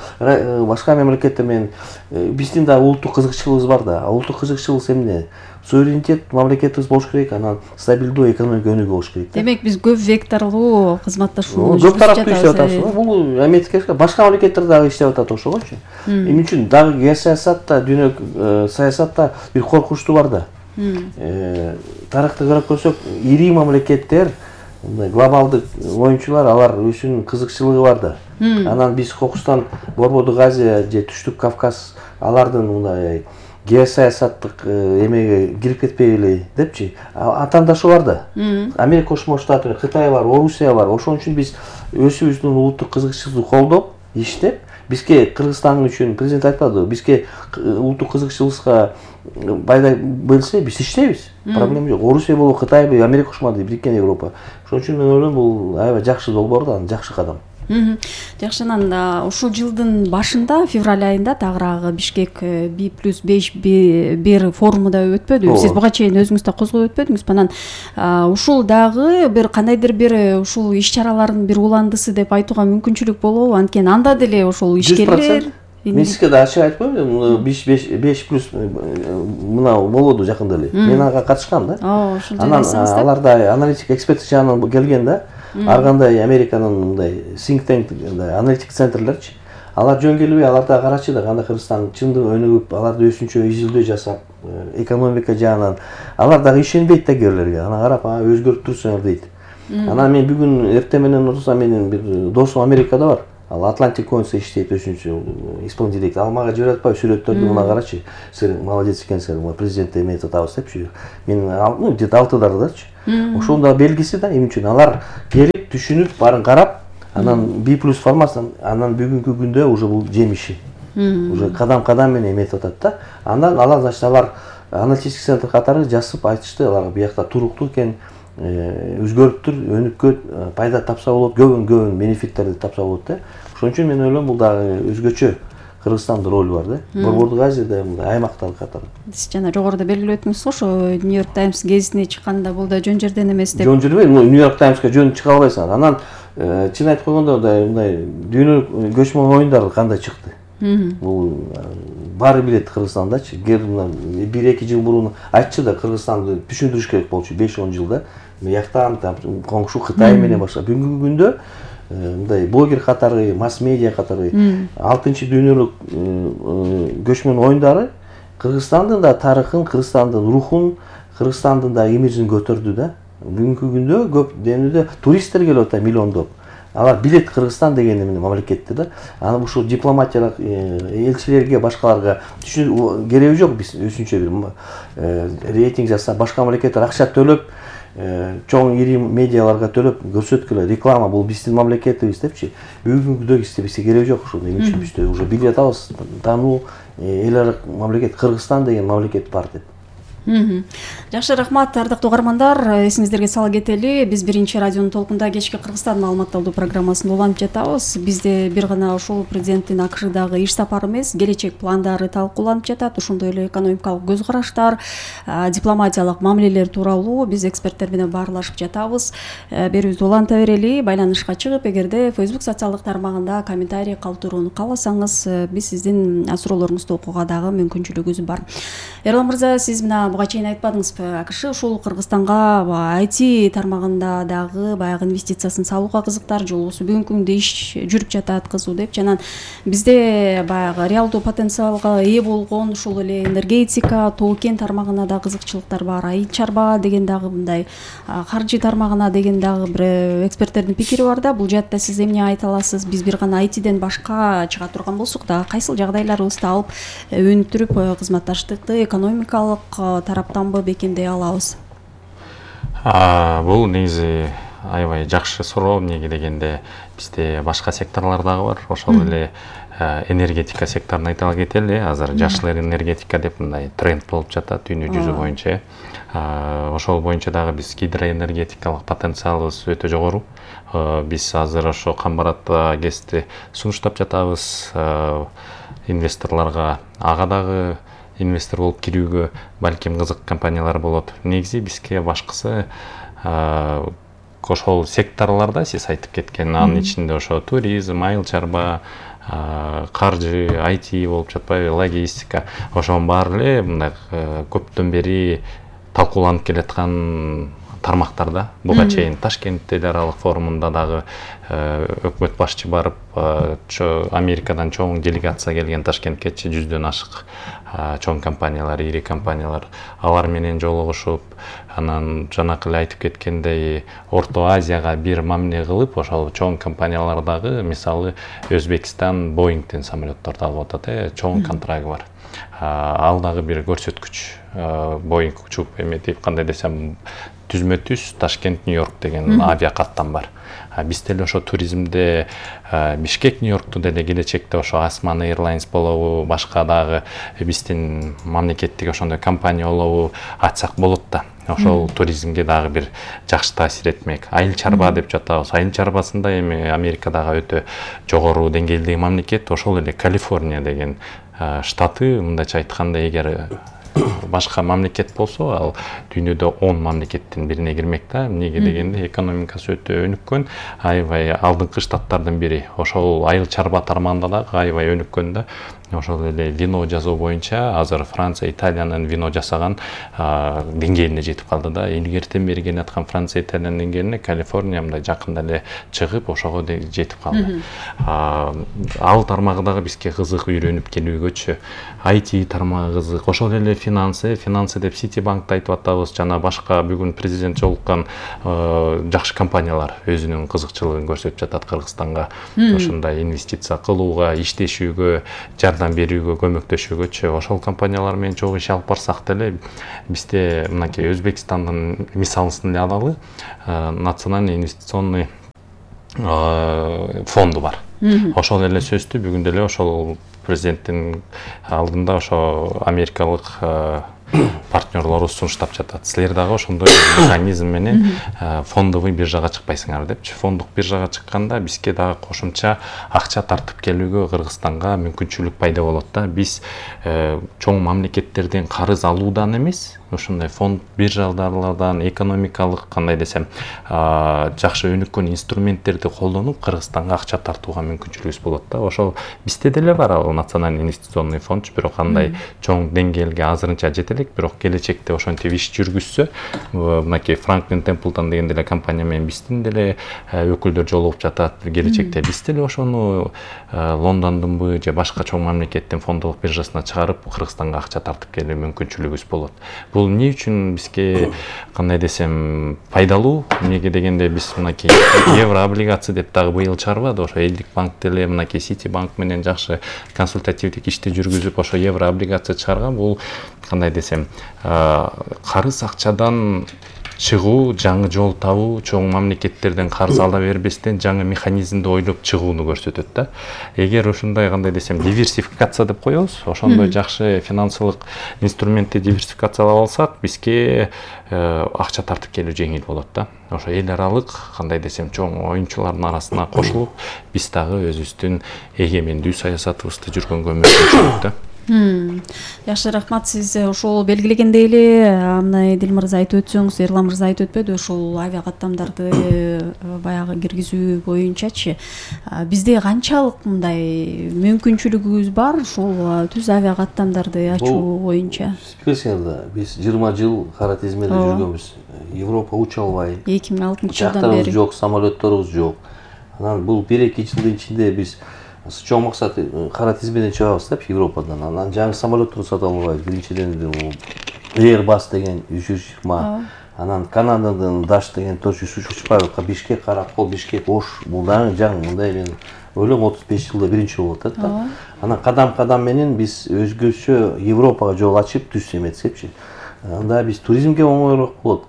башка мамлекеттер менен. Биздин да улуттук кызыкчылыгыбыз бар да. Улуттук кызыкчылык эмне? Суверенитет мамлекетибиз болуш керек, анан стабилдүү экономика өнүгүү болуш керек. Демек биз көп векторлуу кызматташуу көп тараптуу иштеп атабыз. Бул Америка башка мамлекеттер дагы иштеп атат ошогочу. Эмне үчүн дагы геосаясатта, дүйнөлүк саясатта бир коркунучтуу бар да. Тарыхты карап көрсөк, ири мамлекеттер, глобалдык оюнчулар, алар өзүнүн кызыкчылыгы бар да. Анан биз Кокустан, Борбордук Азия же Түштүк Кавказ алардын мындай геосаясаттык эмеге кирип кетпейли депчи, атаандашы бар да. Америка Кошмо Штаты, Кытай бар, Орусия бар. Ошон үчүн биз өзүбүздүн улуттук кызыкчылыгыбызды колдоп, иштеп, бизге Кыргызстан үчүн президент айтпадыбы, бизге улуттук кызыкчылыгыбызга пайда берсе, биз иштейбиз. Проблема жок. Орусия болобу, Кытай, Америка Кошмо Штаты, Бириккен Европа. Ошон үчүн мен ойлойм, бул аябай жакшы долбоор да, жакшы кадам. Жакшы, анан ушул жылдын башында, февраль айында тагыраагы Бишкек 5+5 форуму да өтпөдү. Сиз буга чейин өзүңүз да козгоп өтпөдүңүз. Анан ушул дагы бир кандайдыр бир ушул иш-чаралардын бир уландысы деп айтууга мүмкүнчүлүк болобу? Анткени анда деле ошол ишкерлер мен сизге да ачык айтып коеюн, 5+ мына болду жакында эле. Мен ага катышкам да. Ошол Анан аларда аналитик эксперттик жагынан келген да. Ар кандай Американын мындай think tank аналитик центрлерчи. Алар жөн келбей, аларда карачы да кандай Кыргызстан чындык өнүгүп, аларды өзүнчө изилдөө жасап, экономика жагынан алар дагы ишенбейт да кээрлерге. Анан карап, өзгөрүп турсуңар дейт. Анан мен бүгүн эртең менен отурсам, менин бир досум Америкада бар. Ал Atlantic Coins'te иштейт, өзүнчө исполнительный директор. Ал мага жиберип атпайбы сүрөттөрдү, мына карачы. Сиз молодец экенсиңер, мына президентте эмне атабыз депчи. Мен где-то 6дардачы. Ошонун да белгиси да эмне үчүн алар келип, түшүнүп, баарын карап, анан B+ формасын, анан бүгүнкү күндө уже бул жемиши. Уже кадам менен эметип атат да. Андан алар, значит, алар аналитический центр катары жасып айтышты, алар биякта туруктуу экен, өзгөрүптүр, өнүккөн, пайда тапса болот, көбүн бенефиттерди тапса болот да. Ошон үчүн мен ойлойм, бул дагы өзгөчө Кыргызстандын ролу бар да. Борбордук Азияда мындай аймактар катары. Сиз жана жогоруда белгилеп өттүңүз го, ошо New York Times гезитине чыкканда бул да жөн жерден эмес деп. Жөн жерден, New York Times'ка жөн чыга албайсың. Анан чын айтып койгондо мындай дүйнөлүк көчмөн оюндар кандай чыкты. Бул баары билет Кыргызстандачы. 1-2 жыл мурун айтчы да, Кыргызстанды түшүндүрүш керек болчу, 5-10 жылда. Мыяктан коңшу Кытай менен башка. Бүгүнкү күндө мындай блогер катары, масс-медиа катары 6-чы дүйнөлүк көчмөн оюндары Кыргызстандын да тарыхын, Кыргызстандын рухун, Кыргызстандын да имиджин көтөрдү да. Бүгүнкү күндө көп деңгээлде туристтер келип атат, миллиондоп. Алар билет Кыргызстан деген мамлекетти да. Анан ушул дипломатиялык элчилерге, башкаларга түшүнүү кереги жок. Биз өзүнчө бир рейтинг жасап, башка мамлекеттер акча төлөп, чоң ири медиаларга төлөп көрсөткүлө, реклама бул биздин мамлекетибиз депчи. Бүгүнкү күндө бизге кереги жок ушул. Эмне үчүн бизде уже билип атабыз, таануу эл аралык мамлекет Кыргызстан деген мамлекет бар деп. Жакшы, рахмат, ардактуу угармандар. Эсиңиздерге сала кетели, биз биринчи радионун толкунда кечки Кыргызстан маалыматталуу программасын улантып жатабыз. Бизде бир гана ошол президенттин АКШдагы иш сапары эмес, келечек пландары талкууланып жатат. Ошондой эле экономикалык көз караштар, дипломатиялык мамилелер тууралуу биз эксперттер менен баарлашып жатабыз. Берүүбүздү уланта берели. Байланышка чыгып, эгерде Facebook социалдык тармагында комментарий калтырууну кааласаңыз, биз сиздин суроолоруңузду окууга дагы мүмкүнчүлүгүбүз бар. Эрлан мырза, сиз мына буга чейин айтпадыңызбы, АКШ ушул Кыргызстанга IT тармагында дагы баягы инвестициясын салууга кызыктар, жолубузу бүгүнкү күндө иш жүрүп жатат кызуу деп. Жанан бизде баягы реалдуу потенциалга ээ болгон ушул эле энергетика, тоо кен тармагына да кызыкчылыктар бар. Айыл чарба деген дагы мындай каржы тармагына деген дагы бир эксперттердин пикири бар да. Бул жаатта сиз эмне айта аласыз? Биз бир гана ITден башка чыга турган болсок да, кайсыл жагдайларыбызды алып өнүктүрүп кызматташтыкты экономикалык тараптанбы бекемдей алабыз? Бул негизи аябай жакшы суроо. Эмнеге дегенде бизде башка секторлор дагы бар. Ошол эле энергетика секторун айта кетели. Азыр жашыл энергетика деп мындай тренд болуп жатат дүйнө жүзү боюнча. Ошол боюнча дагы биз гидроэнергетикалык потенциалыбыз өтө жогору. Биз азыр ошо Камбарат ГЭСти сунуштап жатабыз инвесторлорго. Ага дагы инвестор болуп кирүүгө балким кызык компаниялар болот. Негизи бизге башкысы ошол секторлордо сиз айтып кеткен, анын ичинде ошо туризм, айыл чарба, каржы, IT болуп жатпайбы, логистика, ошонун баары эле мындай көптөн бери талкууланып келаткан тармактарда. Буга чейин Ташкент эл аралык форумунда дагы өкмөт башчы барып, Америкадан чоң делегация келген Ташкенткечи 100дөн ашык чоң компаниялар, ири компаниялар, алар менен жолугушуп, анан жанакы эле айтып кеткендей Орто Азияга бир мамиле кылып, ошол чоң компаниялар дагы, мисалы Өзбекстан Боингден самолетторду алып атат, чоң контрагы бар. Ал дагы бир көрсөткүч. Боинг учуп эметип, кандай десем, түзмө-түз Ташкент Нью-Йорк деген авиакаттам бар. Бизде эле ошо туризмде Бишкек Нью-Йоркту деле келечекте ошо Asman Airlines болобу, башка дагы биздин мамлекеттик ошондой компания болобу ачсак болот да. Ошол туризмге дагы бир жакшы таасир этмек. Айыл чарба деп жатабыз. Айыл чарбасында эми Америкадагы өтө жогору деңгээлдеги мамлекет ошол эле Калифорния деген штаты. Мындайча айтканда, эгер башка мамлекет болсо, ал дүйнөдө 10 мамлекеттин бирине кирмек да. Эмнеге дегенде экономикасы өтө өнүккөн, аябай алдыңкы штаттардын бири. Ошол айыл чарба тармагында да аябай өнүккөн да. Ошол эле вино жасоо боюнча азыр Франция, Италиянын вино жасаган деңгээлине жетип калды да. Илгертен бери келе аткан Франция, Италиянын деңгээлине Калифорния мындай жакында эле чыгып, ошого жетип калды. Ал тармагы дагы бизге кызык, үйрөнүп келүүгөчү. IT тармагы кызык. Ошол эле финансы деп Citibank'ты айтып атабыз, жана башка бүгүн президент жолуккан жакшы компаниялар өзүнүн кызыкчылыгын көрсөтүп жатат Кыргызстанга. Ошондой инвестиция кылууга, иштешүүгө, жардам берүүгө, көмөктөшүүгөчү. Ошол компаниялар менен чогуу иш алып барсак деле, бизде мынакей Өзбекстандын мисалын эле алалы. Национальный инвестиционный фонду бар. Ошол эле сөздү бүгүн деле ошол президенттин алдында ошо америкалык партнерлору сунуштап жатат. Силер дагы ошондой механизм менен фондовый биржага чыкпайсыңар депчи. Фондук биржага чыкканда бизге дагы кошумча акча тартып келүүгө Кыргызстанга мүмкүнчүлүк пайда болот да. Биз чоң мамлекеттерден карыз алуудан эмес, ошондой фонд биржалардан экономикалык кандай десем жакшы өнүккөн инструменттерди колдонуп Кыргызстанга акча тартууга мүмкүнчүлүгүбүз болот да. Ошол бизде деле бар ал национальный инвестиционный фонд, бирок кандай чоң деңгээлге азырынча жете элек, бирок келечекте ошентип иш жүргүзсө, мынакей Franklin Templeton деген деле компания менен биздин деле өкүлдөр жолугуп жатат. Келечекте биз деле ошону Лондондунбу же башка чоң мамлекеттин фондолук биржасына чыгарып Кыргызстанга акча тартып келүү мүмкүнчүлүгүбүз болот. Бул эмне үчүн бизге кандай десем пайдалуу? Эмнеге дегенде биз мынакей евро облигация деп дагы быйыл чыгарбады. Ошо элдик банк деле мынакей Citibank менен жакшы консультативдик ишти жүргүзүп ошо евро облигация чыгарган. Бул кандай десем карыз акчадан чыгуу, жаңы жол табуу, чоң мамлекеттерден карыз ала бербестен жаңы механизмди ойлоп чыгууну көрсөтөт да. Эгер ошондой кандай десем диверсификация деп коебуз, ошондой жакшы финансылык инструментти диверсификациялап алсак, бизге акча тартып келүү жеңил болот да. Ошо эл аралык кандай десем чоң оюнчулардын арасына кошулуп, биз дагы өзүбүздүн эгемендүү саясатыбызды жүргөнгө мүмкүнчүлүк да. Жакшы, рахмат. Сиз ошол белгилегендей эле мына Эдил мырза айтып өтсөңүз, Эрлан мырза айтып өтпөдү, ошол авиа каттамдарды баягы киргизүү боюнчачы бизде канчалык мындай мүмкүнчүлүгүбүз бар ошол түз авиа каттамдарды ачуу боюнча? Билесиңер, биз 20 жыл кара тизмеде жүргөнбүз. Европа уча албай, 2006 жылдан бери жок, самолетторубуз жок. Анан бул 1-2 жылдын ичинде биз чоң максат кара тизмеден чыгабыз деп Европадан. Анан жаңы самолеттор сатып албайбыз. Биринчиден Airbus деген 320, анан Канададан Dash деген тоже учпайбыз. Бишкек, Каракол, Бишкек, Ош, бул дагы жаңы мындай мен ойлойм 35 жылда биринчи болот да. Анан кадам менен биз өзгөчө Европага жол ачып түз эметсекчи. Анда биз туризмге оңойлук болот.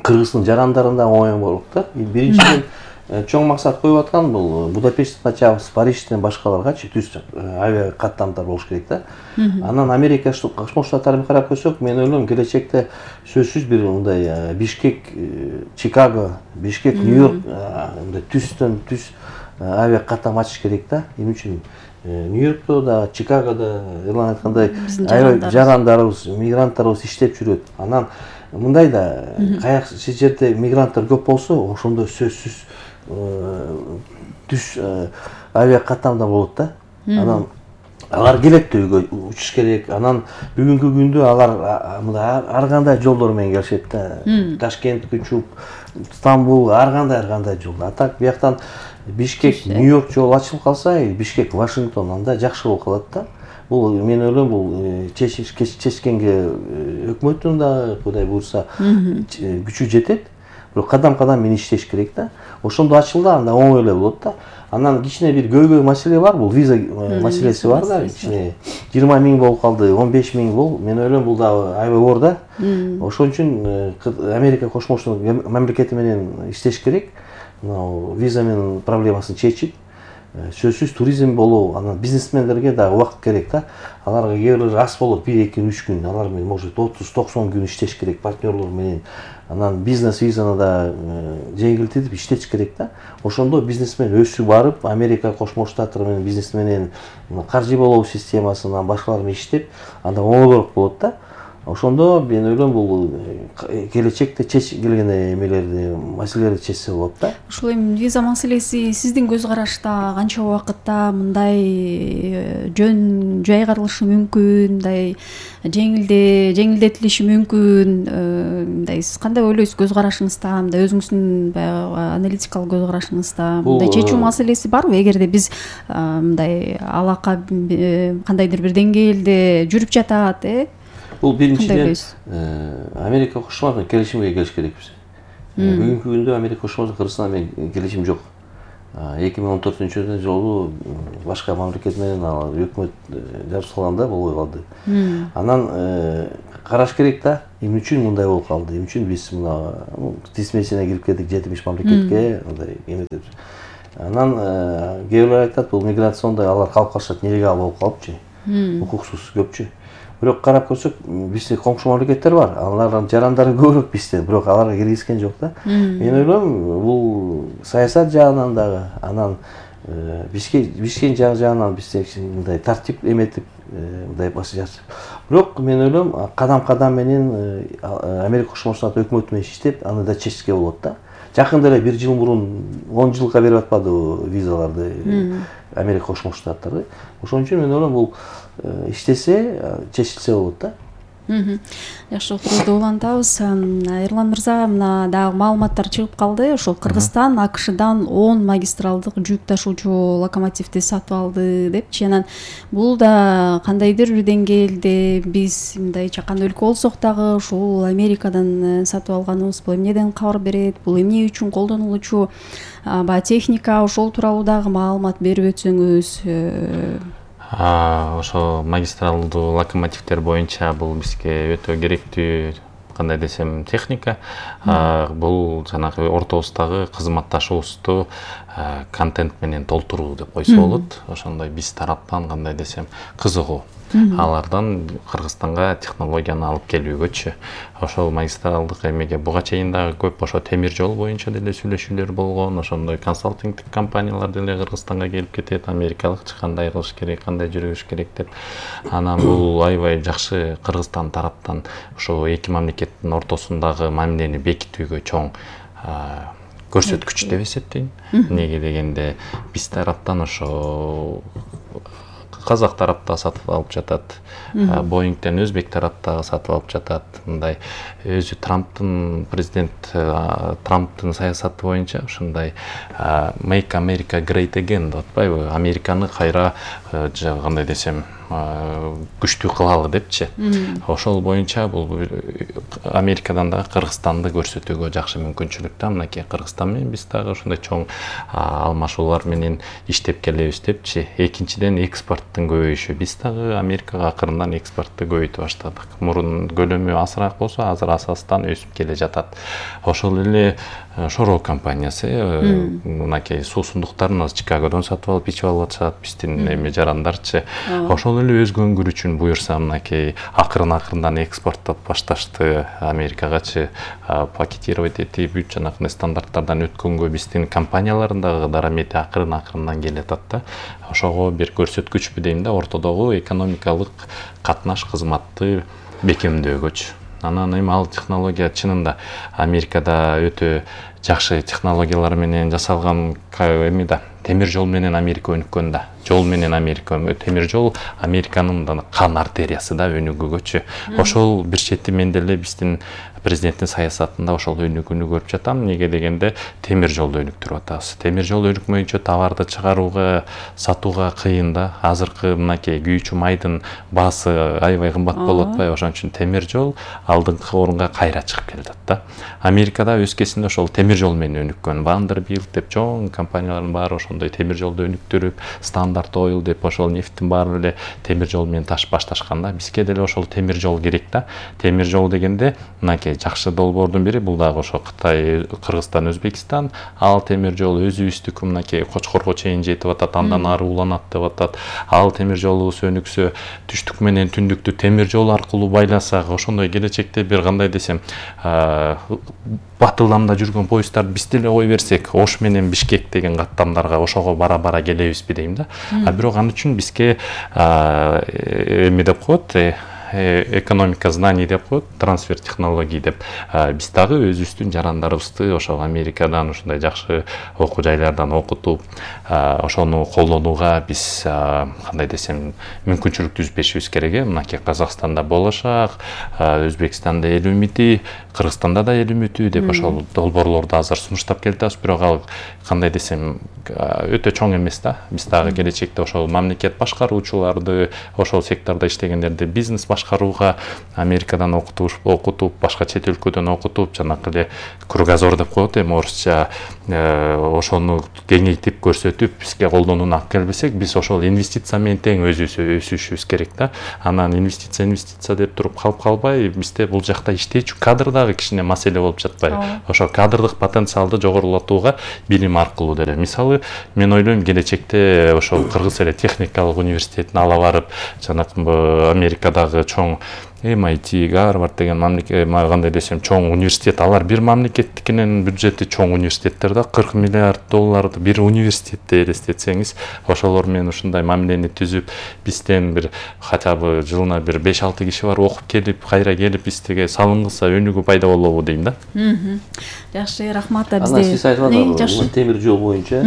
Кыргыздын жарандарында оңойлук да. Биринчиден чоң максат коюп аткан бул Будапешттен ачабыз, Парижден башкаларгачы түз авиа каттамдар болуш керек да. Анан Америка Кошмо Штаттарын карап көрсөк, мен ойлойм келечекте сөзсүз бир мындай Бишкек, Чикаго, Бишкек, Нью-Йорк мындай түстөн түз авиа каттам ачыш керек да. Эмне үчүн Нью-Йоркто да, Чикагодо Эрлан айткандай жарандарыбыз, мигранттарыбыз иштеп жүрөт. Анан мындай да кайсы жерде мигранттар көп болсо, ошондо сөзсүз түз авиа каттамда болот да. Анан алар келет да үйгө учуш керек. Анан бүгүнкү күндө алар ар кандай жолдор менен келишет да. Ташкентке учуп, Стамбул, ар кандай жол. А так бияктан Бишкек, Нью-Йорк жол ачылып калса, Бишкек, Вашингтон анда жакшы болуп калат да. Бул мен ойлойм бул чечкенге өкмөттүн да Кудай буйрса күчү жетет. Бирок кадам менен иштеш керек да. Ошондо ачылды, анда оңой эле болот да. Анан кичине бир көйгөй маселе бар, бул виза маселеси бар да. Кичине 20 миң болуп калды, 15 миң бол. Мен ойлойм бул дагы аябай оор да. Ошон үчүн Америка Кошмо Штаттар мамлекети менен иштеш керек. Виза менен проблемасын чечип, сөзсүз туризм болуу, анан бизнесмендерге да убакыт керек да. Аларга кээ бир аз болот, 1-2 3 күн, алар менен может 30-90 күн иштеш керек партнерлор менен. Анан бизнес визаны да жеңилдетип иштеш керек да. Ошондо бизнесмен өсүп барып, Америка Кошмо Штаттар менен бизнес менен каржы болуу системасынан башкалар менен иштеп, анда оңойлоок болот да. Ошондо мен ойлойм бул келечекте келген эмелерди, маселелерди чечсе болот да. Ушул эми виза маселеси сиздин көз карашта канча убакытта мындай жөн жайгарылышы мүмкүн, мындай жеңилдетилиши мүмкүн, мындай сиз кандай ойлойсуз көз карашыңызда, мындай өзүңүздүн баягы аналитикалык көз карашыңызда мындай чечүү маселеси барбы? Эгерде биз мындай алака кандайдыр бир деңгээлде жүрүп жатат, Бул биринчиден Америка Кошмо Штаттары келишимге келиш керекпиз. Бүгүнкү күндө Америка Кошмо Штаттары Кыргызстан менен келишим жок. 2014-жылы башка мамлекет менен ал өкмөт жабышкалганда болбой калды. Анан караш керек да, эмне үчүн мындай болуп калды, эмне үчүн биз мына тизмесине кирип кетtik 7-5 мамлекетке, мындай эметип. Анан кээ бирлер айтат, бул миграциондой алар калып калышат, нелегал болуп калыпчы, укуксуз көпчү. Бирок карап көрсөк, бизде коңшу мамлекеттер бар. Алардын жарандары көбүрөөк бизден, бирок аларга киргизген жок да. Мен ойлойм, бул саясат жагынан дагы, анан бишкен жагынан бизде мындай тартип эметип, мындай басып. Бирок мен ойлойм, кадам менен Америка Кошмо Штаттары өкмөтү менен иштеп, аны да чечке болот да. Жакында эле 1 жыл мурун 10 жылга берип атпадыбы визаларды Америка Кошмо Штаттары. Ошон үчүн мен ойлойм, бул иштесе, чечилсе болот да. Жакшы, отурууду улантабыз. Эрлан мырза, мына дагы маалыматтар чыгып калды. Ошол Кыргызстан АКШдан 10 магистралдык жүк ташуучу локомотивди сатып алды депчи. Анан бул да кандайдыр бир деңгээлде биз мындай чакан өлкө болсок дагы ушул Америкадан сатып алганыбыз бул эмнеден кабар берет? Бул эмне үчүн колдонулуучу баягы техника, ошол тууралуу дагы маалымат берип өтсөңүз. Ошо магистралдуу локомотивдер боюнча бул бизге өтө керектүү, кандай десем, техника. Бул жанагы ортобуздагы кызматташуубузду контент менен толтуруу деп койсо болот. Ошондой биз тараптан кандай десем, кызыгуу. Алардан Кыргызстанга технологияны алып келүүгөчү. Ошол магистралдык эмеге буга чейин дагы көп ошо темир жол боюнча деле сүйлөшүүлөр болгон. Ошондой консалтингдик компаниялар деле Кыргызстанга келип кетет, америкалыкчы кандай кылыш керек, кандай жүрүш керек деп. Анан бул аябай жакшы Кыргызстан тараптан ошо эки мамлекеттин ортосундагы мамилени бекитүүгө чоң көрсөткүч деп эсептейм. Неге дегенде биз тараптан ошо Казак тарапта сатып алып жатат, Боингден Өзбек тарапта сатып алып жатат. Мындай өзү президент Трамптын саясаты боюнча ушундай Make America Great Again деп атпайбы, Американы кайра кандай десем күчтүү кылалы депчи. Ошол боюнча бул Америкадан да Кыргызстанды көрсөтүүгө жакшы мүмкүнчүлүк да. Мынакей Кыргызстан менен биз дагы ошондой чоң алмашуулар менен иштеп келебиз депчи. Экинчиден экспорттун көбөйүшү. Биз дагы Америкага акырындан экспортту көбөйтүп баштадык. Мурун көлөмү азыраак болсо, азыр асастан өсүп келе жатат. Ошол эле Шоро компаниясы мынакей суусундуктарын Чикагодон сатып алып ичип алып атышат, биздин эме жарандарчы. Ошол эле өз көңгүрү үчүн буюрса мынакей акырындан экспорттоп башташты Америкагачы, пакетировать этип бүт жанагы стандарттардан өткөнгө биздин компаниялардын дагы дарамети акырындан келатат да. Ошого бир көрсөткүчпү дейм да, ортодогу экономикалык катнаш кызматты бекемдөөгөчү. Анан эми ал технология чынында Америкада өтө жакшы технологиялар менен жасалган эми да. Темир жол менен Америка өнүккөн да. Жол менен Америка, темир жол Американын кан артериясы да өнүгүүгөчү. Ошол бир чети мен деле биздин президенттин саясатында ошол өнүгүүнү көрүп жатам. Неге дегенде темир жолду өнүктүрүп атабыз. Темир жол өнүкмөйүнчө товарды чыгарууга, сатууга кыйын да. Азыркы мынакей күйүүчү майдын баасы аябай кымбат болуп атпайбы? Ошон үчүн темир жол алдыңкы орунга кайра чыгып келатат да. Америкада өз кезинде ошол темир жол менен өнүккөн. Vanderbilt деп чоң компаниялардын баары ошондой темир жолду өнүктүрүп, Standard Oil деп ошол нефттин баары эле темир жол менен башташкан да. Бизге деле ошол темир жол керек да. Темир жол дегенде мынакей жакшы долбоордун бири бул дагы ошо Кытай, Кыргызстан, Өзбекстан. Ал темир жол өзүбүздүкү мынакей Кочкорго чейин жетип атат, андан ары уланат деп атат. Ал темир жолубуз өнүксө, түштүк менен түндүктү темир жол аркылуу байласак, ошондой келечекте бир кандай десем, батыламда жүргөн поезддарды биз деле кой берсек, Ош менен Бишкек деген каттамдарга ошого бара дейм да. Бирок ал үчүн бизге эме деп коет, экономика знаний деп коет, трансфер технологий деп. Биз дагы өзүбүздүн жарандарыбызды ошол Америкадан ушундай жакшы окуу жайлардан окутуп, ошону колдонууга биз кандай десем мүмкүнчүлүк түзбешибиз керек. Мынакей Казакстанда болошак, Өзбекстанда эл үмүтү, Кыргызстанда да эл үмүтү деп ошол долбоорлорду азыр сунуштап келатабыз. Бирок ал кандай десем өтө чоң эмес да. Биз дагы келечекте ошол мамлекет башкаруучуларды, ошол сектордо иштегендерди бизнес башкарууга Америкадан окутуп, башка чет өлкөдөн окутуп, жанакы эле кругозор деп коет эми орусча, ошону кеңейтип көрсөтүп, бизге колдонууну алып келбесек, биз ошол инвестиция менен тең өсүшүбүз керек да. Анан инвестиция деп туруп калып калбай, бизде бул жакта иштечү кадр дагы кичине маселе болуп жатпайбы? Ошол кадрдык потенциалды жогорулатууга билим аркылуу деле. Мисалы, мен ойлойм келечекте ошол Кыргыз эле техникалык университетин ала барып, жанакы Америкадагы чоң MIT, Гарвард деген кандай десем чоң университет, алар бир мамлекеттикинен бюджети чоң университеттер да, $40 миллиард бир университетте элестетсеңиз, ошолор менен ушундай мамилени түзүп, бизден бир хотя бы жылына бир 5-6 киши бар окуп келип, кайра келип бизге салынгылса өнүгүү пайда болобу дейм да. Жакшы, рахмат. Анан сиз айтып атасыз, темир жол боюнча,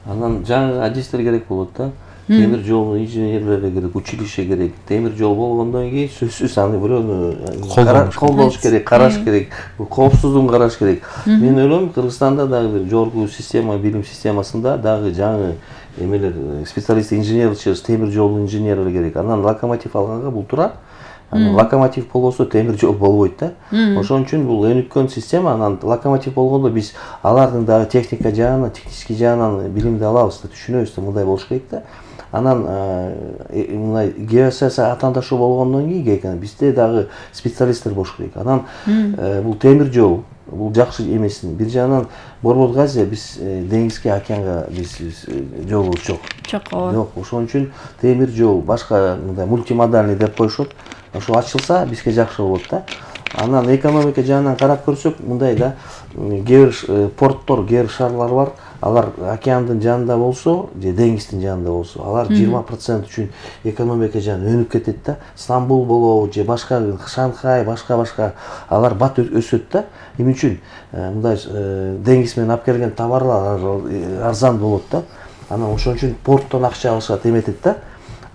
анан жаңы адистер керек болот да. Темир жол инженерлери керек, училище керек. Темир жол болгондон кийин сөзсүз аны бирөөнү колдош керек, караш керек, коопсуздугун караш керек. Мен ойлойм, Кыргызстанда дагы бир жогорку система, билим системасында дагы жаңы эмелер, специалист инженер, темир жол инженерлери керек. Анан локомотив алганга бул туура. Анан локомотив болбосо темир жол болбойт да. Ошон үчүн бул өнүккөн система. Анан локомотив болгондо биз алардын дагы техника жагынан, технический жагынан билимди алабыз да, түшүнөбүз да, мындай болуш керек да. Анан мындай геосаясий атаандашуу болгондон кийин бизде дагы специалисттер болуш керек. Анан бул темир жол, бул жакшы эмесин. Бир жагынан Борбор Газия биз деңизге, океанга биз жолубуз жок. Жок. Ошон үчүн темир жол, башка мындай мультимодальный деп коюшат. Ошол ачылса бизге жакшы болот да. Анан экономика жагынан карап көрсөк, мындай да, кээ бир порттор, кээ бир шаарлар бар. Алар океандын жанында болсо, же деңиздин жанында болсо, алар 20% үчүн экономика жагынан өнүп кетет да. Стамбул болобу, же башка Шанхай, башка алар бат өсөт да. Эмне үчүн? Мындай деңиз менен алып келген товарлар арзан болот да. Анан ошон үчүн порттон акча алышат, эметет да.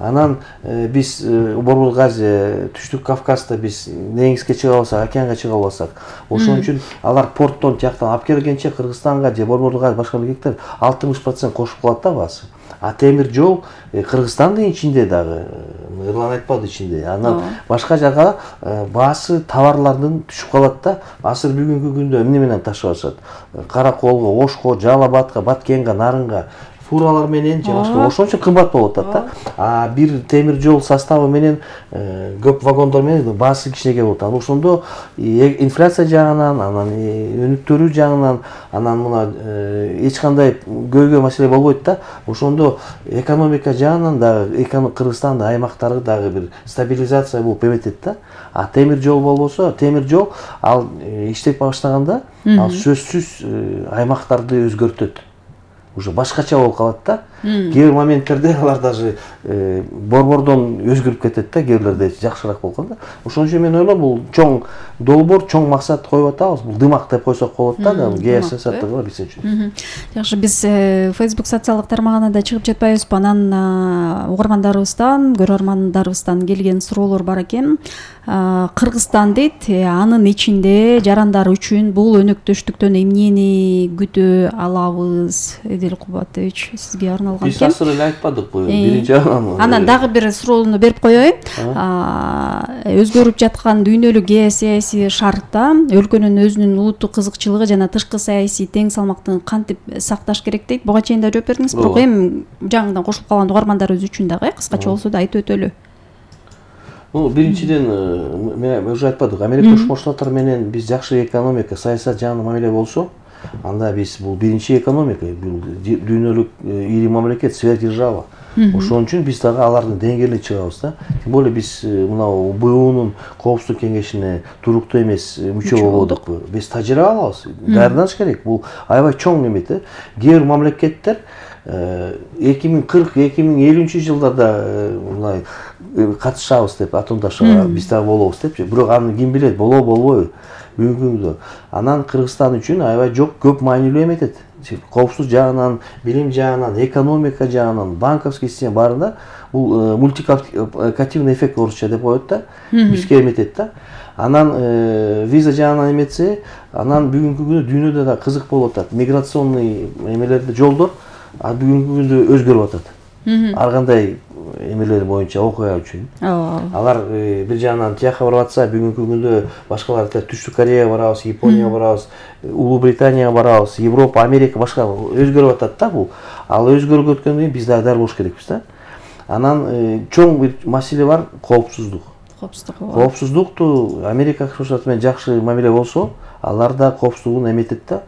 Анан биз Борбор Газия, Түштүк Кавказда биз деңизге чыга алсак, океанга чыга алсак, ошон үчүн алар порттон тияктан алып келгенче Кыргызстанга же Борбор Газия башка мамлекеттер 60% кошуп калат да баасы. А темир жол Кыргызстандын ичинде дагы, Эрлан айтпады ичинде. Анан башка жака баасы товарлардын түшүп калат да. Азыр бүгүнкү күндө эмне менен ташып атышат? Караколго, Ошко, Жалал Абадка, Баткенге, Нарынга фуралар менен же башка, ошон үчүн кымбат болуп атат да. А бир темир жол составы менен көп вагондор менен баасы кичинекей болот. Анан ошондо инфляция жагынан, анан өнүктүрүү жагынан, анан мына эч кандай көйгөй маселе болбойт да. Ошондо экономика жагынан дагы Кыргызстандын аймактары дагы бир стабилизация болуп эметет да. А темир жол болбосо, темир жол ал иштеп баштаганда ал сөзсүз аймактарды өзгөртөт. Уже башкача болуп калат да. Кээ бир моменттерде алар даже борбордон өзгөрүп кетет да, кээ бирлерде жакшыраак болгон да. Ошон үчүн мен ойлойм, бул чоң долбоор, чоң максат коюп атабыз. Бул дымак деп койсок болот да, геосаясатты биз үчүн. Жакшы, биз Facebook социалдык тармагына да чыгып жатпайбызбы? Анан угармандарыбыздан, көрөрмандарыбыздан келген суроолор бар экен. Кыргызстан дейт, анын ичинде жарандар үчүн бул өнөктөштүктөн эмнени күтө алабыз? Эдил Кубатович, сизге арналган экен. Биз азыр эле айтпадыкпы? Биринчи анан дагы бир суроону берип коеюн. Өзгөрүп жаткан дүйнөлүк геосаясий шартта өлкөнүн өзүнүн улуттук кызыкчылыгы жана тышкы саясий тең салмактын кантип сакташ керек дейт. Буга чейин да жооп бердиңиз, бирок эми жаңыдан кошулуп калган угармандарыбыз үчүн дагы кыскача болсо да айтып өтөлү. Биринчиден, мен уже айтпадык, Америка Кошмо Штаттар менен биз жакшы экономика, саясат жагынан мамиле болсо, анда биз бул биринчи экономика, бул дүйнөлүк ири мамлекет, сверхдержава. Ошон үчүн биз дагы алардын деңгээлине чыгабыз да. Тем более биз мынау БУнун коопсуздук кеңешине туруктуу эмес мүчө болдук. Биз тажрыйба алабыз, даярданыш керек. Бул аябай чоң эме да. Кээ бир мамлекеттер 2040-2050 жылдарда мындай катышабыз деп атомдашууга биз дагы болобуз депчи. Бирок аны ким билет, болобу болбойбу бүгүнкү күндө. Анан Кыргызстан үчүн аябай көп маанилүү эметет. Коопсуз жагынан, билим жагынан, экономика жагынан, банковский система баарында бул мультипликативный эффект орусча деп коет да. Бизге эметет да. Анан виза жагынан эметсе, анан бүгүнкү күндө дүйнөдө да кызык болуп атат. Миграционный эмелерде жолдор бүгүнкү күндө өзгөрүп атат. Ар кандай эмелер боюнча окуя үчүн. Алар бир жагынан тияка барып атса, бүгүнкү күндө башкаларда Түштүк Кореяга барабыз, Японияга барабыз, Улуу Британияга барабыз, Европа, Америка башка өзгөрүп атат да бул. Ал өзгөрүп өткөндөн кийин биз дагы дар болуш керекпиз да. Анан чоң бир маселе бар, коопсуздук. Коопсуздукту Америка Кошмо Штаты менен жакшы мамиле болсо, алар да коопсуздугун эметет да.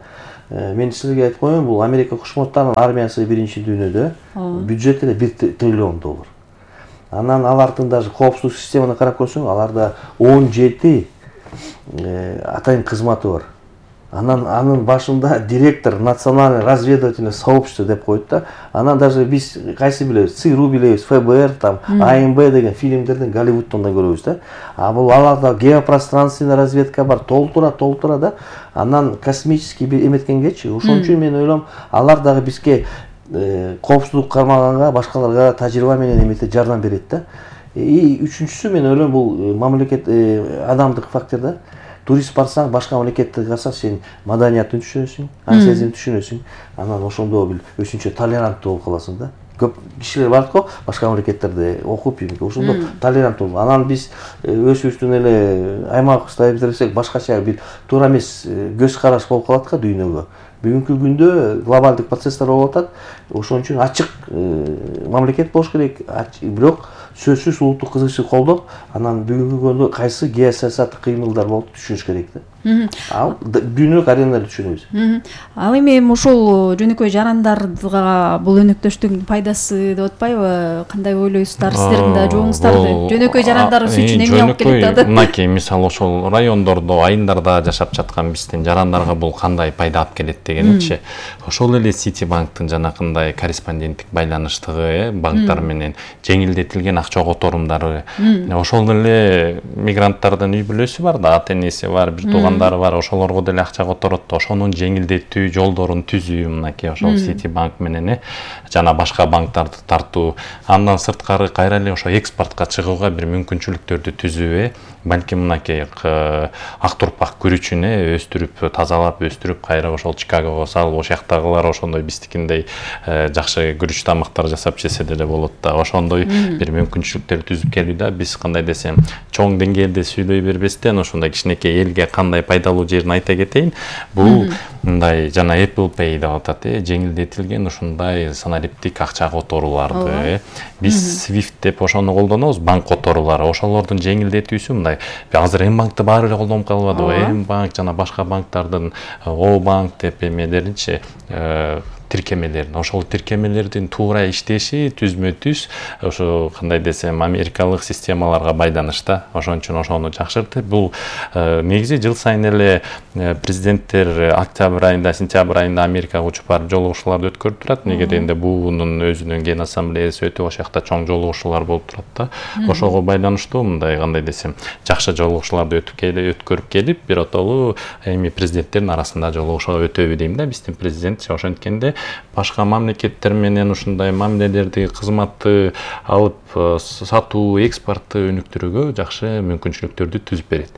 Мен силерге айтып коеюн, бул Америка Кошмо Штаттарынын армиясы биринчи дүйнөдө, бюджети $1 триллион. Анан алардын даже коопсуздук системаны карап көрсөң, аларда 17 атайын кызматы бар. Анын башында директор национальный разведывательное сообщество деп коет да. Анан даже биз кайсы билебиз, ЦРУ билебиз, ФБР, там АМБ деген фильмдерден Голливудтон да көрөбүз да. А бул аларда геопространственный разведка бар, толтура да. Анан космический эметкенгечи. Ошон үчүн мен ойлойм, алар дагы бизге коопсуздук кармаганга, башкаларга тажрыйба менен эмете жардам берет да. И үчүнчүсү мен ойлойм, бул мамлекет адамдык фактор да. Турист барсаң, башка мамлекетте карасаң, сен маданиятын түшүнөсүң, ан сезимди түшүнөсүң. Анан ошондо бир өзүнчө толеранттуу болуп каласың да. Көп кишилер бар го, башка мамлекеттерде окуп, ошондо толеранттуу. Анан биз өзүбүздүн эле аймагыбызда бирсек, башкача бир туура эмес көз караш болуп калат го дүйнөгө. Бүгүнкү күндө глобалдык процесстер болуп атат. Ошон үчүн ачык мамлекет болуш керек, бирок сөзсүз улуттук кызыкчылык колдоп, анан бүгүнкү күндө кайсы геосаясаттык кыймылдар болуп түшүнүш керек да. Ал дүйнөлүк аренада түшүнөбүз. Ал эми ошол жөнөкөй жарандарга бул өнөктөштүктүн пайдасы деп атпайбы? Кандай ойлойсуздар, сиздердин да жообуңуздарды? Жөнөкөй жарандар үчүн эмне алып келет да? Мынакей мисалы ошол райондордо, айылдарда жашап жаткан биздин жарандарга бул кандай пайда алып келет дегеничи. Ошол эле Ситибанктын жанакындай корреспонденттик байланыштыгы, банктар менен жеңилдетилген акча которумдары. Ошол эле мигранттардын үй бүлөсү бар да, ата энеси бар, бир туугандары бар, ошолорго деле акча которот. Ошонун жеңилдетүү жолдорун түзүү мынакей ошол Ситибанк менен жана башка банктарды тартуу. Андан сырткары кайра эле ошо экспортко чыгууга бир мүмкүнчүлүктөрдү түзүү. Балким мынакей ак турпак күрүчүн өстүрүп, тазалап өстүрүп, кайра ошол Чикагого салып, ошол жактагылар ошондой биздикиндей жакшы күрүч тамактар жасап жесе деле болот да. Ошондой бир мүмкүнчүлүктөр түзүп келүү да. Биз кандай десем, чоң деңгээлде сүйлөй бербестен ошондой кичинекей элге кандай пайдалуу жерин айта кетейин. Бул мындай жана Apple Pay деп атат, жеңилдетилген ушундай санариптик акча которууларды. Биз Swift деп ошону колдонобуз, банк которуулары. Ошолордун жеңилдетүүсү мындай. Азыр М-банкты баары эле колдонуп калбадыбы? М-банк жана башка банктардын О-банк деп эмелеринчи тиркемелерин, ошол тиркемелердин туура иштеши түзмө-түз ошо кандай десем америкалык системаларга байланышта. Ошон үчүн ошону жакшыртты. Бул негизи жыл сайын эле президенттер октябрь айында, сентябрь айында Америкага учуп барып жолугушууларды өткөрүп турат. Неге дегенде буунун өзүнүн ген ассамблеясы өтүп, ошол жакта чоң жолугушуулар болуп турат да. Ошого байланыштуу мындай кандай десем, жакшы жолугушууларды өткөрүп келип, биротолуу эми президенттердин арасында жолугушууга өтөбү дейм да. Биздин президент ошенткенде башка мамлекеттер менен ушундай мамилелерди, кызматты алып сатуу, экспортты өнүктүрүүгө жакшы мүмкүнчүлүктөрдү түзүп берет.